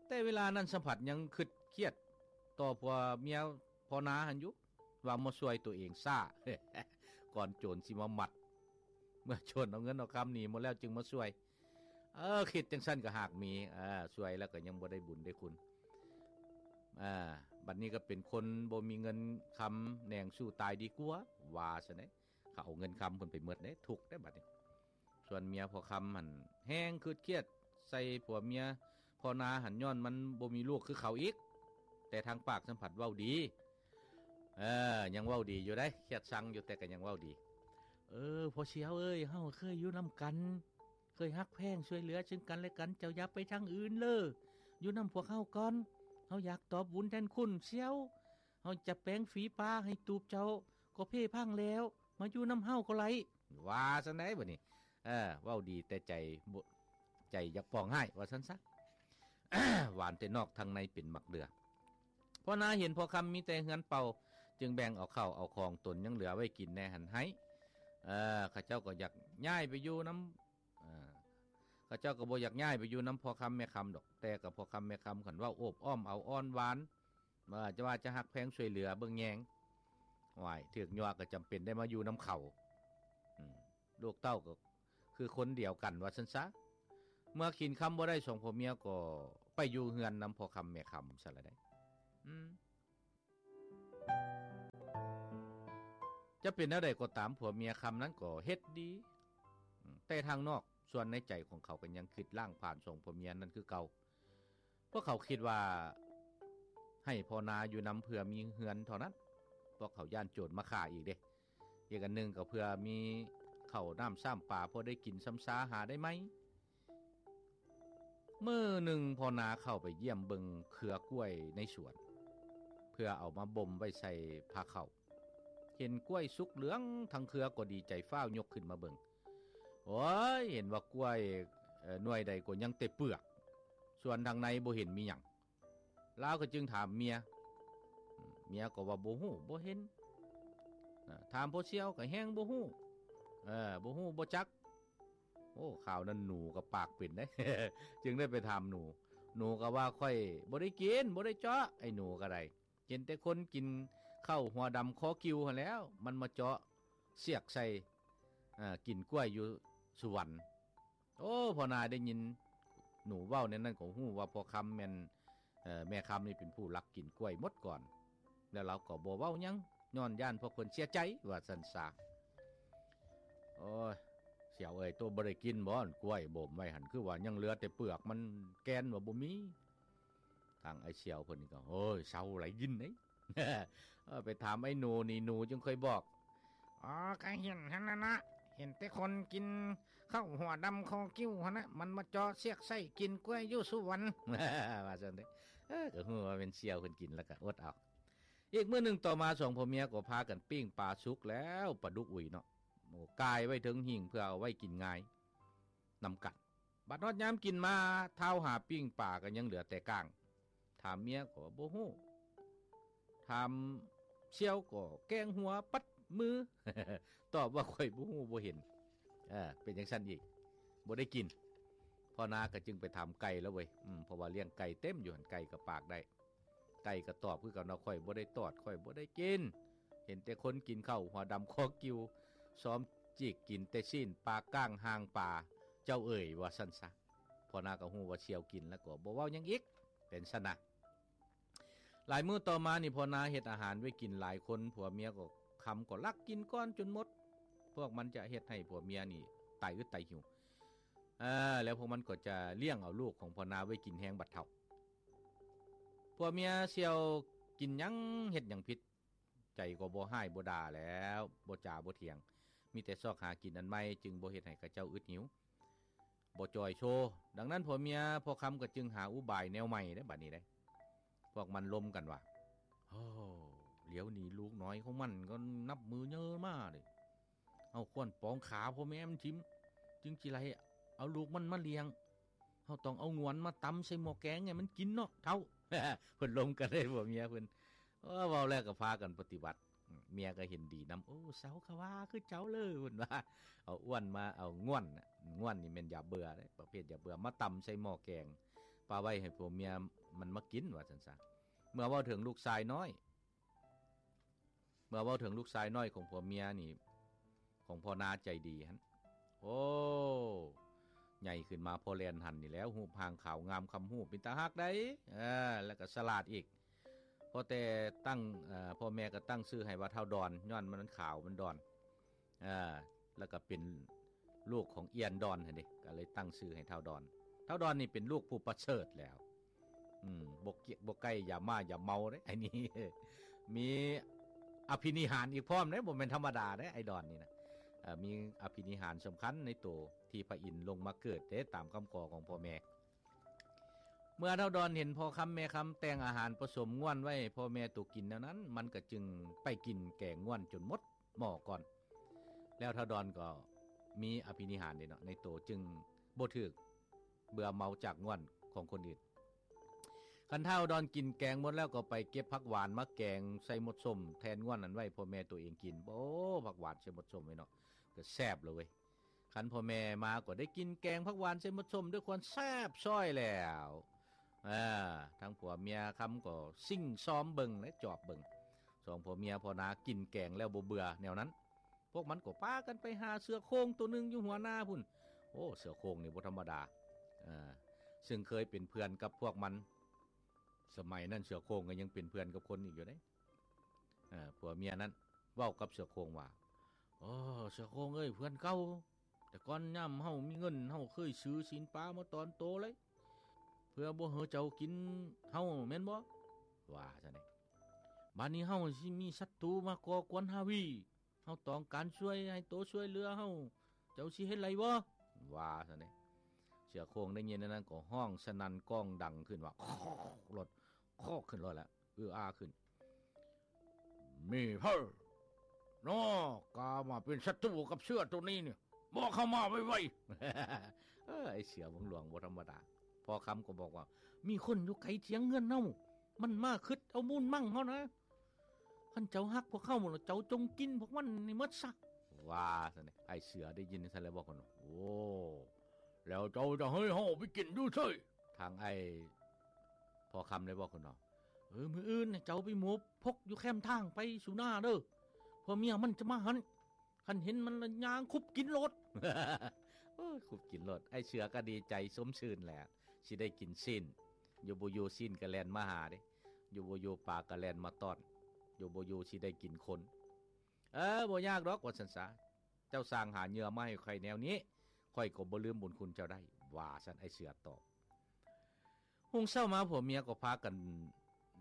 ແຕ່ເວລານັ້ນສຳຜັດຍັງຄຶດຄຽດຕໍ່ຜົວເມຍພໍ່ນາຫັ້ນຢູ່ ວ່າມາຊ່ວຍຕົວເອງຊ້າ ກ່ອນໂຈນຊິມາມັດ. ເມື່ອໂຈນເອົາເງິນເອົາຄຳໜີໝົດແລ້ວຈຶ່ງມາຊ່ວຍ. ເອີ ຄິດຈັ່ງຊັ້ນກໍຫາກມີ ເອີ ຊ່ວຍແລ້ວກໍຍັງບໍ່ໄດ້ບຸນໄດ້ຄຸນ. ເອີ ບັດນີ້ກໍເປັນຄົນບໍ່ມີເງິນຄຳ ແໜງສູ້ຕາຍດີກວ່າ ວ່າຊັ້ນເດ້. ເຂົາເອົາເງິນຄຳເພິ່ນໄປໝົດເດ້ ທຸກເດ້ບັດນີ້. ສ່ວນເມຍພໍ່ຄຳຫັ້ນແຮ່ງຄຶດຄຽດໃສ່ຜົວເມຍພໍ່ນາຫັ້ນ ຍ້ອນມັນບໍ່ມີລູກຄືເຂົາອີກ ແຕ່ທາງປາກສຳຜັດເວົ້າດີ. ເອີ ຍັງເວົ້າດີຢູ່ເດ້ ຄຽດຊັງຢູ່ ແຕ່ກໍຍັງເວົ້າດີ. ເອີ ພໍ່ຊຽວເອີຍ ເຮົາເຄີຍຢູ່ນຳກັນ ເຄີຍຮັກແພງຊ່ວຍເຫຼືອເຊິ່ງກັນແລະກັນ ເຈົ້າຢ່າໄປທາງອື່ນເລີ ຢູ່ນຳພວກເຮົາກ່ອນ ເຮົາຢາກຕອບບຸນແທນຄຸນຊຽວ ເຮົາຈະແປງຝີປາໃຫ້ຕູບເຈົ້າກໍເພພັງແລ້ວ ມາຢູ່ນຳເຮົາກໍໄດ້ ວ່າຊັ້ນໃດ໋ບັດນີ້. ເອີ ເວົ້າດີແຕ່ໃຈບໍ່ ໃຈຢາກປອງຮ້າຍ ວ່າຊັ້ນຊະ. ຫວານແຕ່ນອກ ທາງໃນເປັນໝາກເດືອ. ພໍ່ນາເຫັນພໍ່ຄຳມີແຕ່ເຮືອນເປົ່າ ຈຶ່ງແບ່ງເອົາເຂົ້າເອົາຂອງຕົນຍັງເຫຼືອໄວ້ກິນແດ່ຫັ້ນໃຫ້. ເອີ ເຂົາເຈົ້າກໍຢາກຍ້າຍໄປຢູ່ນຳ ເອີ ເຂົາເຈົ້າກໍບໍ່ຢາກຍ້າຍໄປຢູ່ນຳພໍ່ຄຳແມ່ຄຳດອກ ແຕ່ກັບພໍ່ຄຳແມ່ຄຳ ຄັນເວົ້າໂອບອ້ອມເອົາອ້ອນຫວານ ວ່າຈະ ວ່າຈະຮັກແພງຊ່ວຍເຫຼືອເບິ່ງແຍງ. ໂອ້ຍ ຖືກຍົວະກໍຈຳເປັນໄດ້ມາຢູ່ນຳເຂົາ. ອືມ ລູກເຕົ້າກໍຄືຄົນດຽວກັນ ວ່າຊັ້ນຊະ. ເມື່ອກິນຄຳບໍ່ໄດ້ ສອງຜົວເມຍກໍໄປຢູ່ເຮືອນນຳພໍ່ຄຳແມ່ຄຳຊັ້ນລະໄດ໋. ອືມ. ຈະເປັນແນວໃດກໍຕາມ ຜົວເມຍຄຳນັ້ນກໍເຮັດດີ ອາ ແຕ່ທາງນອກ ສ່ວນໃນໃຈຂອງເຂົາກໍຍັງຄິດລ້າງຜ່ານສອງຜົວເມຍນັ້ນຄືເກົ່າ. ພວກເຂົາຄິດວ່າໃຫ້ພໍ່ນາຢູ່ນຳເພື່ອມີເຮືອນເທົ່ານັ້ນ, ພວກເຂົາຢ້ານໂຈນມາຂ້າອີກເດ້. ອີກອັນໜຶ່ງກໍເພື່ອມີເຂົ້ານ້ຳຊ້ຳປາ ພໍໄດ້ກິນຊຳຊາຫາໄດ້ໃໝ່. ມື້ໜຶ່ງພໍ່ນາເຂົ້າໄປຢ້ຽມເບິ່ງເຄືອກ້ວຍໃນສວນ ເພື່ອເອົາມາບົ່ມໄວ້ໃສ່ພາເຂົ້າ. ເຫັນກ້ວຍສຸກເຫຼືອງທັງເຄືອກໍດີໃຈ ຟ້າວຍົກຂຶ້ນມາເບິ່ງ. ໂອ້ຍ ເຫັນວ່າກ້ວຍ ເອີ ໜ່ວຍໃດກໍຍັງແຕ່ເປືອກ, ສ່ວນທາງໃນບໍ່ເຫັນມີຫຍັງ. ລາວກໍຈຶ່ງຖາມເມຍ, ເມຍກໍວ່າບໍ່ຮູ້ບໍ່ເຫັນ. ອາ ຖາມພໍ່ສ່ຽວກໍແຮ່ງບໍ່ຮູ້, ເອີ ບໍ່ຮູ້ບໍ່ຈັກ. ໂອ້ ຄາວນັ້ນໜູກໍປາກເປັນເດ້ ຈຶ່ງໄດ້ໄປຖາມໜູ. ໜູກໍວ່າ ຂ້ອຍບໍ່ໄດ້ກິນ ບໍ່ໄດ້ເຈາະ. ໄອ້ໜູກໍໄດ້ ເຫັນແຕ່ຄົນກິນເຂົ້າຫົວດຳຄໍກິວຫັ້ນແຫຼ້ວ ມັນມາເຈາະສຽກໃສ່ ເອີ ກິນກ້ວຍຢູ່ສຸວັນ. ໂອ້ ພໍ່ນາໄດ້ຍິນໜູເວົ້າແນວນັ້ນກໍຮູ້ວ່າພໍ່ຄຳແມ່ນ ເອີ ແມ່ຄຳນີ້ເປັນຜູ້ລັກກິນກ້ວຍໝົດກ່ອນ, ແລ້ວລາວກໍບໍ່ເວົ້າຫຍັງ ຍ້ອນຢ້ານພວກເພິ່ນເສຍໃຈ ວ່າຊັ້ນຊະ. ໂອ້ຍ ສ່ຽວເອີຍ ໂຕບໍ່ໄດ້ກິນບໍ່ ກ້ວຍບົ່ມໄວ້ຫັ້ນ ຄືວ່າຍັງເຫຼືອແຕ່ເປືອກ ມັນແກ່ນວ່າບໍ່ມີ. ທາງອ້າຍສ່ຽວເພິ່ນນີ້ກໍ ໂອ້ຍ ເຊົາຫຼາຍກິນເດ້ ເອີ ໄປຖາມໄອ້ໜູນີ້ ໜູຈຶ່ງຄ່ອຍບອກ. ອໍ ກະເຫັນຫັ້ນນະ ເຫັນແຕ່ຄົນກິນເຂົ້າຫົວດຳຄໍກິວຫັ້ນນະ ມັນມາເຈາະສຽກໃສ່ກິນກ້ວຍຢູ່ສຸວັນ ວ່າຊັ້ນເດ້. ເອີ ກໍຮູ້ວ່າແມ່ນສ່ຽວເພິ່ນກິນ ແລ້ວກໍອົດເອົາ. ອີກມື້ໜຶ່ງຕໍ່ມາ ສອງຜົວເມຍກໍພາກັນປີ້ງປາສຸກແລ້ວ ປາດຸກອຸຍເນາະ ໂອ້ ກ່າຍໄວ້ເທິງຫິ້ງເພື່ອເອົາໄວ້ກິນງາຍນຳກັນ. ບັດຮອດຍາມກິນມາ ທ້າວຫາປີ້ງປາກໍຍັງເຫຼືອແຕ່ກ້າງ. ຖາມເມຍກໍວ່າບໍ່ຮູ້, ຖາມສ່ຽວກໍແກງຫົວປັດມື ຕອບວ່າ ຂ້ອຍບໍ່ຮູ້ບໍ່ເຫັນ. ເອີ ເປັນຈັ່ງຊັ້ນອີກ ບໍ່ໄດ້ກິນ. ພໍ່ນາກໍຈຶ່ງໄປຖາມໄກ່ແລ້ວເວີຍ ອືມ ເພາະວ່າລ້ຽງໄກ່ເຕັມຢູ່ຫັ້ນ ໄກ່ກໍປາກໄດ້. ໄກ່ກໍຕອບຄືກັນວ່າ ຂ້ອຍບໍ່ໄດ້ຕອດ ຂ້ອຍບໍ່ໄດ້ກິນ, ເຫັນແຕ່ຄົນກິນເຂົ້າຫົວດຳຄໍກິວ ຊອມຈີກກິນແຕ່ຊີ້ນປາກ້າງຫາງປາ ເຈົ້າເອີຍ ວ່າຊັ້ນຊະ. ພໍ່ນາກໍຮູ້ວ່າສ່ຽວກິນ ແລ້ວກໍບໍ່ເວົ້າຫຍັງອີກ ເປັນຊັ້ນນະ. ຫຼາຍມື້ຕໍ່ມານີ້ ພໍ່ນາເຮັດອາຫານໄວ້ກິນຫຼາຍຄົນ ຜົວເມຍກໍ ຄຳກໍລັກກິນກ່ອນຈົນໝົດ. ພວກມັນຈະເຮັດໃຫ້ຜົວເມຍນີ້ຕາຍອຶດຕາຍຫິວ ເອີ ແລ້ວພວກມັນກໍຈະລ້ຽງເອົາລູກຂອງພໍ່ນາໄວ້ກິນແຮງບັດເຖົ້າ. ຜົວເມຍສ່ຽວກິນຫຍັງເຮັດຫຍັງຜິດ ໃຈກໍບໍ່ຮ້າຍບໍ່ດ່າແລ້ວ ບໍ່ຈາບໍ່ຖຽງ ມີແຕ່ຊອກຫາກິນອັນໃໝ່ ຈຶ່ງບໍ່ເຮັດໃຫ້ເຂົາເຈົ້າອຶດຫິວ ບໍ່ຈ່ອຍໂຊ. ດັ່ງນັ້ນ ຜົວເມຍພໍ່ຄຳກໍຈຶ່ງຫາອຸບາຍແນວໃໝ່ເດ້ ບັດນີ້ເດ້. ພວກມັນລົມກັນວ່າ ໂອ້ ດຽວນີ້ລູກນ້ອຍຂອງມັນກໍນັບມື້ເຍີມາເດ້. ເຮົາຄວນປອງຂາພໍ່ແມ່ມັນຖິ້ມ ຈຶ່ງຊິໄດ້ເອົາລູກມັນມາລ້ຽງ. ເຮົາຕ້ອງເອົາງວນມາຕຳໃສ່ໝໍ້ແກງໃຫ້ມັນກິນເນາະເຖົ້າ. ເພິ່ນລົມກັນເລີຍ ຜົວເມຍເພິ່ນ. ເອີ ເວົ້າແລ້ວກໍພາກັນປະຕິບັດ. ເມຍກໍເຫັນດີນຳ. ໂອ້ ເຊົາຄະວ່າຄືເຈົ້າເລີ ເພິ່ນວ່າ. ເອົາອ້ວນມາ ເອົາງວນ ງວນນີ້ແມ່ນຢາເບື່ອເດ້ ປະເພດຢາເບື່ອ ມາຕຳໃສ່ໝໍ້ແກງ ປະໄວ້ໃຫ້ຜົວເມຍມັນມາກິນ ວ່າຊັ້ນຊະ. ເມື່ອເວົ້າເຖິງລູກຊາຍນ້ອຍ ເມື່ອເວົ້າເຖິງລູກຊາຍນ້ອຍຂອງຜົວເມຍນີ້ ຂອງພໍ່ນາໃຈດີຫັ້ນ ໂອ້ ໃຫຍ່ຂຶ້ນມາພໍແລ່ນຫັນນີ້ແລ້ວ ຮູບຮ່າງຂາວງາມຄຳຮູບ ເປັນຕາຮັກໃດ໋ ເອີ ແລ້ວກໍສະຫຼາດອີກ. ພໍແຕ່ຕັ້ງ ເອີ ພໍ່ແມ່ກໍຕັ້ງຊື່ໃຫ້ວ່າທ້າວດອນ ຍ້ອນມັນຂາວມັນດອນ ເອີ ແລ້ວກໍເປັນ ລູກຂອງອຽນດອນຫັ້ນເດ້ ກໍເລີຍຕັ້ງຊື່ໃຫ້ທ້າວດອນ. ທ້າວດອນນີ້ເປັນລູກຜູ້ປະເສີດແລ້ວ ອືມ ບໍ່ກຽກ ບໍ່ໃກ້ຢາມ້າຢາເມົາເດ້ ໄອ້ນີ້ ມີອະພິນິຫານອີກພ້ອມເດ້ ບໍ່ແມ່ນທຳມະດາເດ້ ໄອ້ດອນນີ້ນະ. ເອີ ມີອະພິນິຫານສຳຄັນໃນໂຕ ທີ່ພະອິນລົງມາເກີດເດ້ ຕາມຄຳຂໍຂອງພໍ່ແມ່. ເມື່ອທ້າວດອນເຫັນພໍ່ຄຳແມ່ຄຳແຕ່ງອາຫານປະສົມງວນໄວ້ໃຫ້ພໍ່ແມ່ໂຕກິນແນວນັ້ນ ມັນກໍຈຶ່ງໄປກິນແກງງວນຈົນໝົດ ໝໍ້ກ່ອນ ແລ້ວທ້າວດອນກໍມີອະພິນິຫານເດ້ເນາະ ໃນໂຕຈຶ່ງບໍ່ຖືກເບື່ອເມົາຈາກງວນຂອງຄົນອື່ນ. ຄັນທ້າວດອນກິນແກງໝົດແລ້ວ ກໍໄປເກັບຜັກຫວານມາແກງໃສ່ມົດສົ້ມແທນງວນນັ້ນໄວ້ພໍ່ແມ່ໂຕເອງກິນ. ໂອ້ ຜັກຫວານໃສ່ມົດສົ້ມໄວ້ເນາະ ກໍແຊບແລ້ວເວີຍ. ຄັນພໍ່ແມ່ມາກໍໄດ້ກິນແກງຜັກຫວານໃສ່ມົດສົ້ມດ້ວຍຄວາມແຊບຊ້ອຍແລ້ວ. ເອີ ທັງຜົວເມຍຄຳກໍຊິງຊອມເບິ່ງ ແລະ ຈອບເບິ່ງ ສອງຜົວເມຍພໍ່ນາກິນແກງແລ້ວບໍ່ເບື່ອແນວນັ້ນ. ພວກມັນກໍພາກັນໄປຫາເສືອໂຄ່ງໂຕໜຶ່ງຢູ່ຫົວນາພຸ້ນ. ໂອ້ ເສືອໂຄ່ງນີ້ບໍ່ທຳມະດາ ເອີ ຊຶ່ງເຄີຍເປັນເພື່ອນກັບພວກມັນ. ສະໄໝນັ້ນເສືອໂຄ່ງກໍຍັງເປັນເພື່ອນກັບຄົນອີກຢູ່ເດ້. ເອີ ຜົວເມຍນັ້ນເວົ້າກັບເສືອໂຄ່ງວ່າ ໂອ້ ເສືອໂຄ່ງເອີຍ ເພື່ອນເກົ່າ ແຕ່ກ່ອນຍາມເຮົາມີເງິນ ເຮົາເຄີຍຊື້ຊີ້ນປາມາຕອນໂຕເລີຍ ເພື່ອບໍ່ໃຫ້ເຈົ້າກິນເຮົາແມ່ນບໍ່? ວ່າຊັ້ນເດ. ບາດນີ້ເຮົາຊິມີສັດຕູມາກໍ່ກວນຮາວີ ເຮົາຕ້ອງການຊ່ວຍ ໃຫ້ໂຕຊ່ວຍເຫຼືອເຮົາ ເຈົ້າຊິເຮັດໄດ້ບໍ່? ວ່າຊັ້ນເດ. ເສືອໂຄ່ງໄດ້ຍິນແນວນັ້ນກໍຮ້ອງສະໜັ່ນກ້ອງດັງຂຶ້ນວ່າ ໂຄກໂລດ ໂຄກຂຶ້ນໂລດລະ ອືອາຂຶ້ນ ມີໃຜນໍກາມາເປັນສັດຕູກັບເສືອໂຕນີ້ນີ້ ບອກເຂົ້າມາໄວໆ. ເອີ ໄອ້ເສືອເມືອງຫຼວງບໍ່ທຳມະດາ. ພໍ່ຄຳກໍບອກວ່າ ມີຄົນຢູ່ໄກທຽງເຮືອນເຮົາ ມັນມາຄຶດເອົາມູນມັງເຮົານະ ຄັນເຈົ້າຮັກພວກເຮົາແລ້ວ ເຈົ້າຈົ່ງກິນພວກມັນໃຫ້ໝົດຊະ ວ່າຊັ້ນເດ. ອ້າຍເສືອໄດ້ຍິນຊັ້ນແລ້ວບອກກັນວ່າ ໂອ້ ແລ້ວເຈົ້າຈະໃຫ້ເຮົາໄປກິນຢູ່ໃສ? ທາງອ້າຍພໍ່ຄຳໄດ້ບອກຂຶ້ນວ່າ ເອີ ມື້ອື່ນເຈົ້າໄປໝົບພົກຢູ່ແຄມທາງໄປສູ່ໜ້າເດີ ຜົວເມຍມັນຈະມາຫັ້ນ ຄັນເຫັນມັນລະຍ່າງຄຸບກິນໂລດ. ໂອ້ຍ ຄຸບກິນໂລດ. ອ້າຍເສືອກໍດີໃຈຊົມຊື່ນແຫຼະ ຊິໄດ້ກິນຊີ້ນ ຢູ່ບໍ່ຢູ່ຊີ້ນກໍແລ່ນມາຫາເດ້ ຢູ່ບໍ່ຢູ່ປາກໍແລ່ນມາຕ້ອນ ຢູ່ບໍ່ຢູ່ຊິໄດ້ກິນຄົນ. ເອີ ບໍ່ຍາກດອກ ວ່າຊັ້ນສາ ເຈົ້າຊ່າງຫາເຫຍື່ອມາໃຫ້ຂ້ອຍແນວນີ້ ຂ້ອຍກໍບໍ່ລືມບຸນຄຸນເຈົ້າໄດ້ ວ່າຊັ້ນ ອ້າຍເສືອຕອບ. ຮຸ່ງເຊົ້າມາຜົວເມຍກໍພາກັນ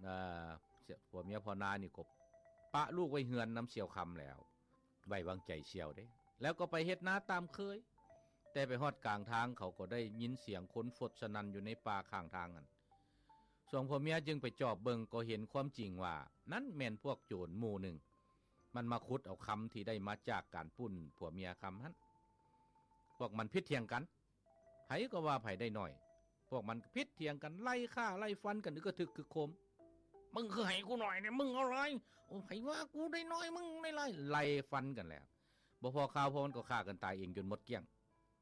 ເອີ ຜົວເມຍພໍ່ນານີ້ກໍປະລູກໄວ້ເຮືອນນຳສ່ຽວຄຳແລ້ວ ໄວ້ວາງໃຈສ່ຽວເດ້ ແລ້ວກໍໄປເຮັດນາຕາມເຄີຍ. ແຕ່ໄປຮອດກາງທາງ ເຂົາກໍໄດ້ຍິນສຽງຄົນຟົດສະໜັ່ນຢູ່ໃນປ່າຂ້າງທາງຫັ້ນ. ສອງຜົວເມຍຈຶ່ງໄປຈອບເບິ່ງ ກໍເຫັນຄວາມຈິງວ່າ ນັ້ນແມ່ນພວກໂຈນໝູ່ໜຶ່ງ ມັນມາຂຸດເອົາຄຳທີ່ໄດ້ມາຈາກການປຸ້ນຜົວເມຍຄຳຫັ້ນ. ພວກມັນຜິດຖຽງກັນ ໃຜກໍວ່າໃຜໄດ້ໜ້ອຍ ພວກມັນຜິດຖຽງກັນ ໄລ່ຂ້າໄລ່ຟັນກັນ ອຶກກະທຶກຄຶກໂຄມ. ມຶງຄືໃຫ້ກູໜ້ອຍແດ່ ມຶງເອົາຫຼາຍ. ໂອ້ ໃຜວ່າກູໄດ້ໜ້ອຍ ມຶງໄດ້ຫຼາຍ. ໄລ່ຟັນກັນແລ້ວ ບໍ່ພໍຄາວພໍມັນກໍຂ້າກັນຕາຍເອງຈົນໝົດກ້ຽງ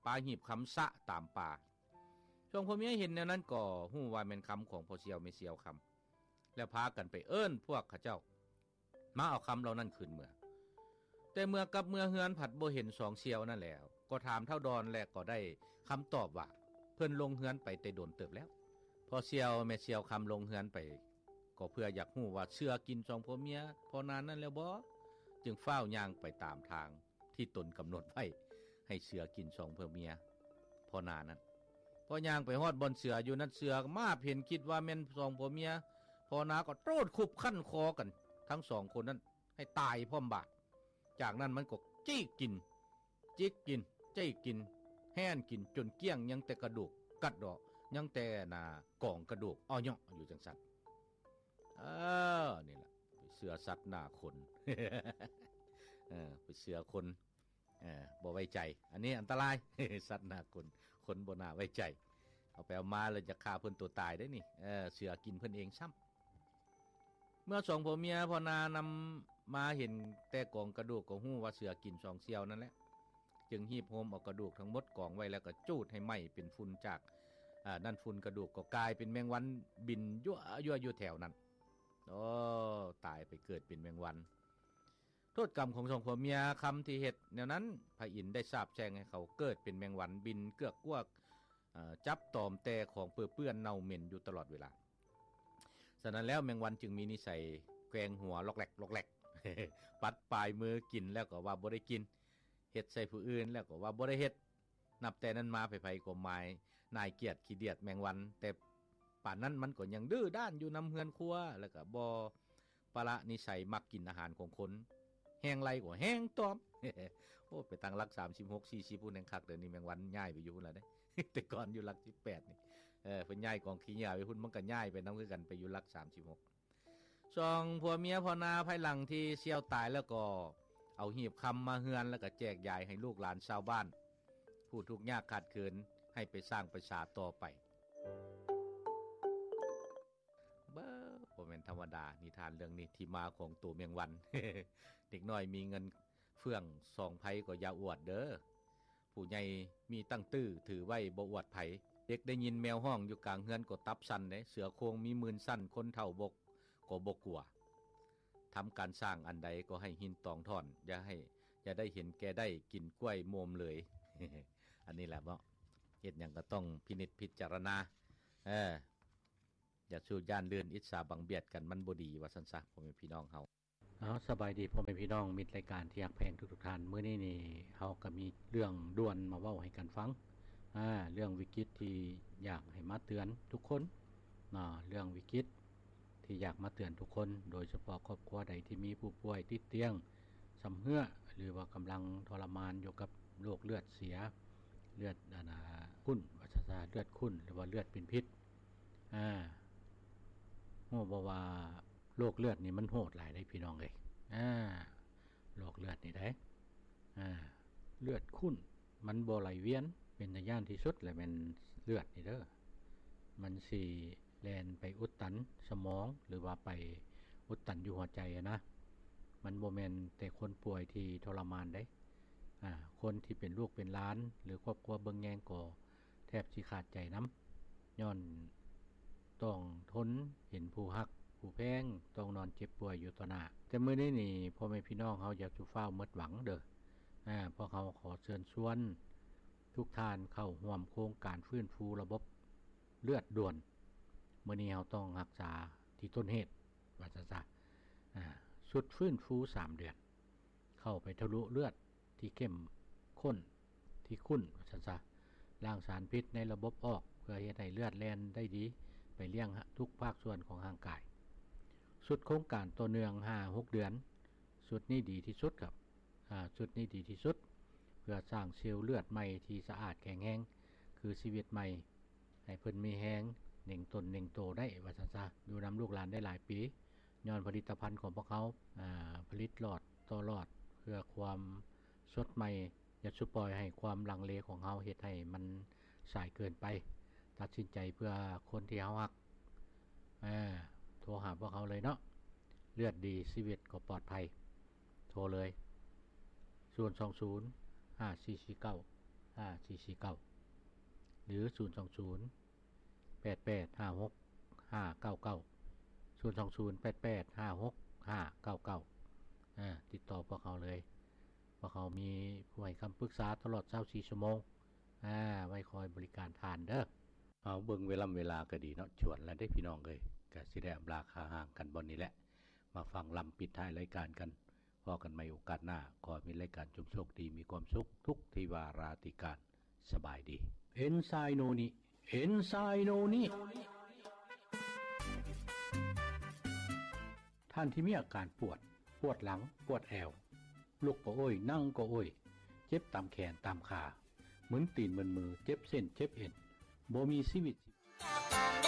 ປາຫີບຄຳສະຕາມປ່າ. ຊ່ວງຜົວເມຍເຫັນແນວນັ້ນກໍຮູ້ວ່າແມ່ນຄຳຂອງພໍ່ສ່ຽວແມ່ສ່ຽວຄຳ ແລ້ວພາກັນໄປເອີ້ນພວກເຂົາເຈົ້າ ມາເອົາຄຳເຫຼົ່ານັ້ນຄືນເມືອ. ແຕ່ເມື່ອກັບເມືອເຮືອນ ພັດບໍ່ເຫັນສອງສ່ຽວນັ້ນແລ້ວ ກໍຖາມທ້າວດອນ ແລະ ກໍໄດ້ຄຳຕອບວ່າ ເພິ່ນລົງເຮືອນໄປແຕ່ດົນເຕີບແລ້ວ. ພໍ່ສ່ຽວແມ່ສ່ຽວຄຳລົງເຮືອນໄປ ກໍເພື່ອຢາກຮູ້ວ່າເສືອກິນສອງຜົວເມຍພໍ່ນານັ້ນແລ້ວບໍ່, ຈຶ່ງຟ້າວຍ່າງໄປຕາມທາງ ທີ່ຕົນກຳນົດໄວ້ ໃຫ້ເສືອກິນສອງຜົວເມຍພໍ່ນານັ້ນ. ພໍຍ່າງໄປຮອດບ່ອນເສືອຢູ່ນັ້ນ ເສືອມາບເຫັນ ຄິດວ່າແມ່ນສອງຜົວເມຍພໍ່ນາ ກໍໂຕດຄຸບຂັ້ນຄໍກັນທັງສອງຄົນນັ້ນ ໃຫ້ຕາຍພ້ອມບາດ. ຈາກນັ້ນມັນກໍຈິກກິນ ຈິກກິນ ຈິກກິນ ແຫ້ນກິນຈົນກ້ຽງ ຍັງແຕ່ກະດູກກັດເດາະ ຍັງແຕ່ໜ້າກອງກະດູກເອາະເຍາະຢູ່ຈັ່ງຊັ້ນ. ເອີ ນີ້ລະ ໄປເຊື່ອສັດໜ້າຄົນ ເອີ ໄປເຊື່ອຄົນ ເອີ ບໍ່ໄວ້ໃຈ ອັນນີ້ອັນຕະລາຍ ສັດໜ້າຄົນ ຄົນບໍ່ໜ້າໄວ້ໃຈ ເອົາໄປເອົາມາແລ້ວຈະຂ້າເພິ່ນຕົວຕາຍເດ້ນີ້ ເອີ ເສືອກິນເພິ່ນເອງຊ້ຳ. ເມື່ອສອງຜົວເມຍພໍ່ນານຳມາເຫັນແຕ່ກອງກະດູກ ກໍຮູ້ວ່າເສືອກິນສອງສ່ຽວນັ້ນແຫຼະ ຈຶ່ງຮີບໂຮມເອົາກະດູກທັງໝົດກອງໄວ້ ແລ້ວກໍຈູດໃຫ້ໄໝ້ເປັນຝຸ່ນຈາກ ອາ ນັ້ນຝຸ່ນກະດູກກໍກາຍເປັນແມງວັນບິນຍົວໆຢູ່ແຖວນັ້ນ. ໂອ້ ຕາຍໄປເກີດເປັນແມງວັນ. ໂທດກຳຂອງສອງຜົວເມຍຄຳທີ່ເຮັດແນວນັ້ນ ພະອິນໄດ້ສາບແຊ່ງໃຫ້ເຂົາເກີດເປັນແມງວັນບິນເກືອກກວກ ເອີ ຈັບຕອມແຕ່ຂອງເປິເປື້ອນເນົ່າເໝັນຢູ່ຕະຫຼອດເວລາ. ສະນັ້ນແລ້ວ ແມງວັນຈຶ່ງມີນິໄສແກວ່ງຫົວລັອກແລັກລັອກແລັກ ປັດປາຍມືກິນແລ້ວກໍວ່າບໍ່ໄດ້ກິນ ເຮັດໃສ່ຜູ້ອື່ນແລ້ວກໍວ່າບໍ່ໄດ້ເຮັດ. ນັບແຕ່ນັ້ນມາໃຜໆກໍໝາຍໜ່າຍກຽດຂີ້ດຽດແມງວັນ ແຕ່ປານນັ້ນມັນກໍຍັງດື້ດ້ານຢູ່ນຳເຮືອນຄົວ ແລ້ວກໍບໍ່ປະລະນິໄສມັກກິນອາຫານຂອງຄົນ ແຮງໄລ່ກໍແຮງຕອມ. ໂອ້ ໄປຕັ້ງຫຼັກສາມສິບຫົກ ສີ່ສິບພຸ້ນແຮງຄັກ ດຽວນີ້ແມງວັນຍ້າຍໄປຢູ່ພຸ້ນລະເດ້ ແຕ່ກ່ອນຢູ່ຫຼັກສິບແປດນີ້ ເອີ ເພິ່ນຍ້າຍກອງຂີ້ເຫຍື້ອໄປພຸ້ນ ມັນກໍຍ້າຍໄປນຳຄືກັນ ໄປຢູ່ຫຼັກສາມສິບຫົກ. ສອງຜົວເມຍພໍ່ນາພາຍຫຼັງທີ່ສ່ຽວຕາຍແລ້ວກໍເອົາຫີບຄຳມາເຮືອນ ແລ້ວກໍແຈກຢາຍໃຫ້ລູກຫຼານຊາວບ້ານ ຜູ້ທຸກຍາກຂາດເຂີນ ໃຫ້ໄປສ້າງໄປສາຕໍ່ໄປ. ເບິ່ງ ບໍ່ແມ່ນທຳມະດາ ນິທານເລື່ອງນີ້ ທີ່ມາຂອງໂຕແມງວັນ. ເດັກນ້ອຍມີເງິນເຟື່ອງສອງໄພກໍຢ່າອວດເດີ້. ຜູ້ໃຫຍ່ມີຕັ້ງຕື້ຖືໄວ້ບໍ່ອວດໃຜ. ເດັກໄດ້ຍິນແມວຮ້ອງຢູ່ກາງເຮືອນກໍຕັບສັ່ນເດ້. ເສືອໂຄ່ງມີໝື່ນຊັ້ນ ຄົນເຖົ້າບໍ່ ກໍບໍ່ກົວ. ທຳການສ້າງອັນໃດກໍໃຫ້ຫີນຕອງທ່ອນ ຢ່າໃຫ້ ຢ່າໄດ້ເຫັນແກ່ໄດ້ກິນກ້ວຍໂມມເລີຍ. ອັນນີ້ແຫຼະເນາະ ເຮັດຫຍັງກໍຕ້ອງພິນິດພິຈາລະນາ ເອີ ຢ່າສູ້ຢ້ານລື່ນ ອິດສາບັງບຽດກັນ ມັນບໍ່ດີ ວ່າຊັ້ນຊະ ພໍ່ແມ່ພີ່ນ້ອງເຮົາ. ເອົາ ສະບາຍດີພໍ່ແມ່ພີ່ນ້ອງ ມິດລາຍການທີ່ຮັກແພງທຸກໆທ່ານ. ມື້ນີ້ນີ້ເຮົາກໍມີເລື່ອງດ່ວນມາເວົ້າໃຫ້ກັນຟັງ. ອາ ເລື່ອງວິກິດທີ່ຢາກໃຫ້ມາເຕືອນທຸກຄົນເນາະ, ເລື່ອງວິກິດທີ່ຢາກມາເຕືອນທຸກຄົນ, ໂດຍສະເພາະຄອບຄົວໃດທີ່ມີຜູ້ປ່ວຍຕິດຕຽງຊຳເຮື້ອ ຫຼືວ່າກຳລັງທໍລະມານຢູ່ກັບໂລກເລືອດເສຍ, ເລືອດ ອັນນ່າ ຂຸ້ນ ວ່າຊັ້ນຊະ, ເລືອດຂຸ້ນ ຫຼືວ່າເລືອດເປັນພິດ. ອາ ຮູ້ບໍ່ວ່າໂລກເລືອດນີ້ມັນໂຫດຫຼາຍເດ້ພີ່ນ້ອງເອີຍ. ອາ ໂລກເລືອດນີ້ເດ້ ອາ ເລືອດຂຸ້ນ ມັນບໍ່ໄຫຼວຽນ, ເປັນຕາຢ້ານທີ່ສຸດແຫຼະແມ່ນເລືອດນີ້ເດີ. ມັນຊິແລ່ນໄປອຸດຕັນສະໝອງ ຫຼືວ່າໄປອຸດຕັນຢູ່ຫົວໃຈຫັ້ນນະ. ມັນບໍ່ແມ່ນແຕ່ຄົນປ່ວຍທີ່ທໍລະມານເດ້. ອາ ຄົນທີ່ເປັນລູກເປັນຫຼານ ຫຼືຄອບຄົວເບິ່ງແຍງກໍແທບຊິຂາດໃຈນຳ ຍ້ອນຕ້ອງທົນເຫັນຜູ້ຮັກຜູ້ແພງຕ້ອງນອນເຈັບປ່ວຍຢູ່ຕໍ່ໜ້າ. ແຕ່ມື້ນີ້ນີ້ ພໍ່ແມ່ພີ່ນ້ອງເຮົາຢ່າສູ່ຟ້າວໝົດຫວັງເດີ. ອາ ພວກເຮົາຂໍເຊີນຊວນທຸກທ່ານເຂົ້າຮ່ວມໂຄງການຟື້ນຟູລະບົບເລືອດດ່ວນ. ມື້ນີ້ເຮົາຕ້ອງຮັກສາທີ່ຕົ້ນເຫດ ວ່າຊັ້ນຊະ. ອາ ຊຸດຟື້ນຟູສາມເດືອນ ເຂົ້າໄປທະລຸເລືອດທີ່ເຂັ້ມຂຸ້ນ ທີ່ຂຸ້ນ ວ່າຊັ້ນຊະ, ລ້າງສານພິດໃນລະບົບອອກ ເພື່ອເຮັດໃຫ້ເລືອດແລ່ນໄດ້ດີໄປລ້ຽງທຸກພາກສ່ວນຂອງຮ່າງກາຍ. ຊຸດໂຄງການຕໍ່ເນື່ອງຫ້າຫົກເດືອນ, ຊຸດນີ້ດີທີ່ສຸດຄັບ. ອາ ຊຸດນີ້ດີທີ່ສຸດ ເພື່ອສ້າງເຊວເລືອດໃໝ່ທີ່ສະອາດແຂງແຮງ ຄືຊີວິດໃໝ່ ໃຫ້ເພິ່ນມີແຮງເໜັງຕົນເໜັງໂຕໄດ້ ວ່າຊັ້ນຊະ, ຢູ່ນຳລູກຫຼານໄດ້ຫຼາຍປີ ຍ້ອນຜະລິດຕະພັນຂອງພວກເຮົາ ອາ ຜະລິດຫຼອດຕໍ່ຫຼອດ ເພື່ອຄວາມສົດໃໝ່. ຢ່າສູ່ປ່ອຍໃຫ້ຄວາມລັງເລຂອງເຮົາເຮັດໃຫ້ມັນສາຍເກີນໄປ. ຕັດສິນໃຈເພື່ອຄົນທີ່ເຮົາຮັກ. ອາ ໂທຫາພວກເຮົາເລີຍເນາະ, ເລືອດດີຊີວິດກໍປອດໄພ. ໂທເລີຍ ສູນສອງສູນ ຫ້າສີ່ສີ່ເກົ້າ ຫ້າສີ່ສີ່ເກົ້າ ຫຼື ສູນສອງສູນ ແປດແປດຫ້າຫົກຫ້າເກົ້າເກົ້າ ສູນສອງສູນ ແປດແປດຫ້າຫົກຫ້າເກົ້າເກົ້າ. ອາ ຕິດຕໍ່ພວກເຮົາເລີຍ, ພວກເຮົາມີຜູ້ໃຫ້ຄຳປຶກສາຕະຫຼອດຊາວສີ່ຊົ່ວໂມງ. ອາ ໄວ້ຄອຍບໍລິການທ່ານເດີ. ເອົາ ເບິ່ງເວລາເວລາກໍດີເນາະ, ຈວນແລ້ວເດ້ພີ່ນ້ອງເອີຍ, ກໍຊິໄດ້ອຳລາຄາຮ່າງກັນບ່ອນນີ້ແຫຼະ. ມາຟັງລຳປິດທ້າຍລາຍການກັນ. ພໍ້ກັນໃໝ່ໂອກາດໜ້າ. ຂໍໃຫ້ມີລາຍການຈົ່ງໂຊກດີ ມີຄວາມສຸກທຸກທີ່ວາລາຕິການ. ສະບາຍດີ. ເອັນໄຊໂນນິ ເອັນໄຊໂນນິ ທ່ານທີ່ມີອາການປວດ, ປວດຫຼັງ, ປວດແອວ, ລຸກກໍໂອ້ຍ, ນັ່ງກໍໂອ້ຍ, ເຈັບຕາມແຂນ, ຕາມຂາ, ມຶນຕີນມຶນມື, ເຈັບເສັ້ນ, ເຈັບເອັນ, ບໍ່ມີຊີວິດຊີ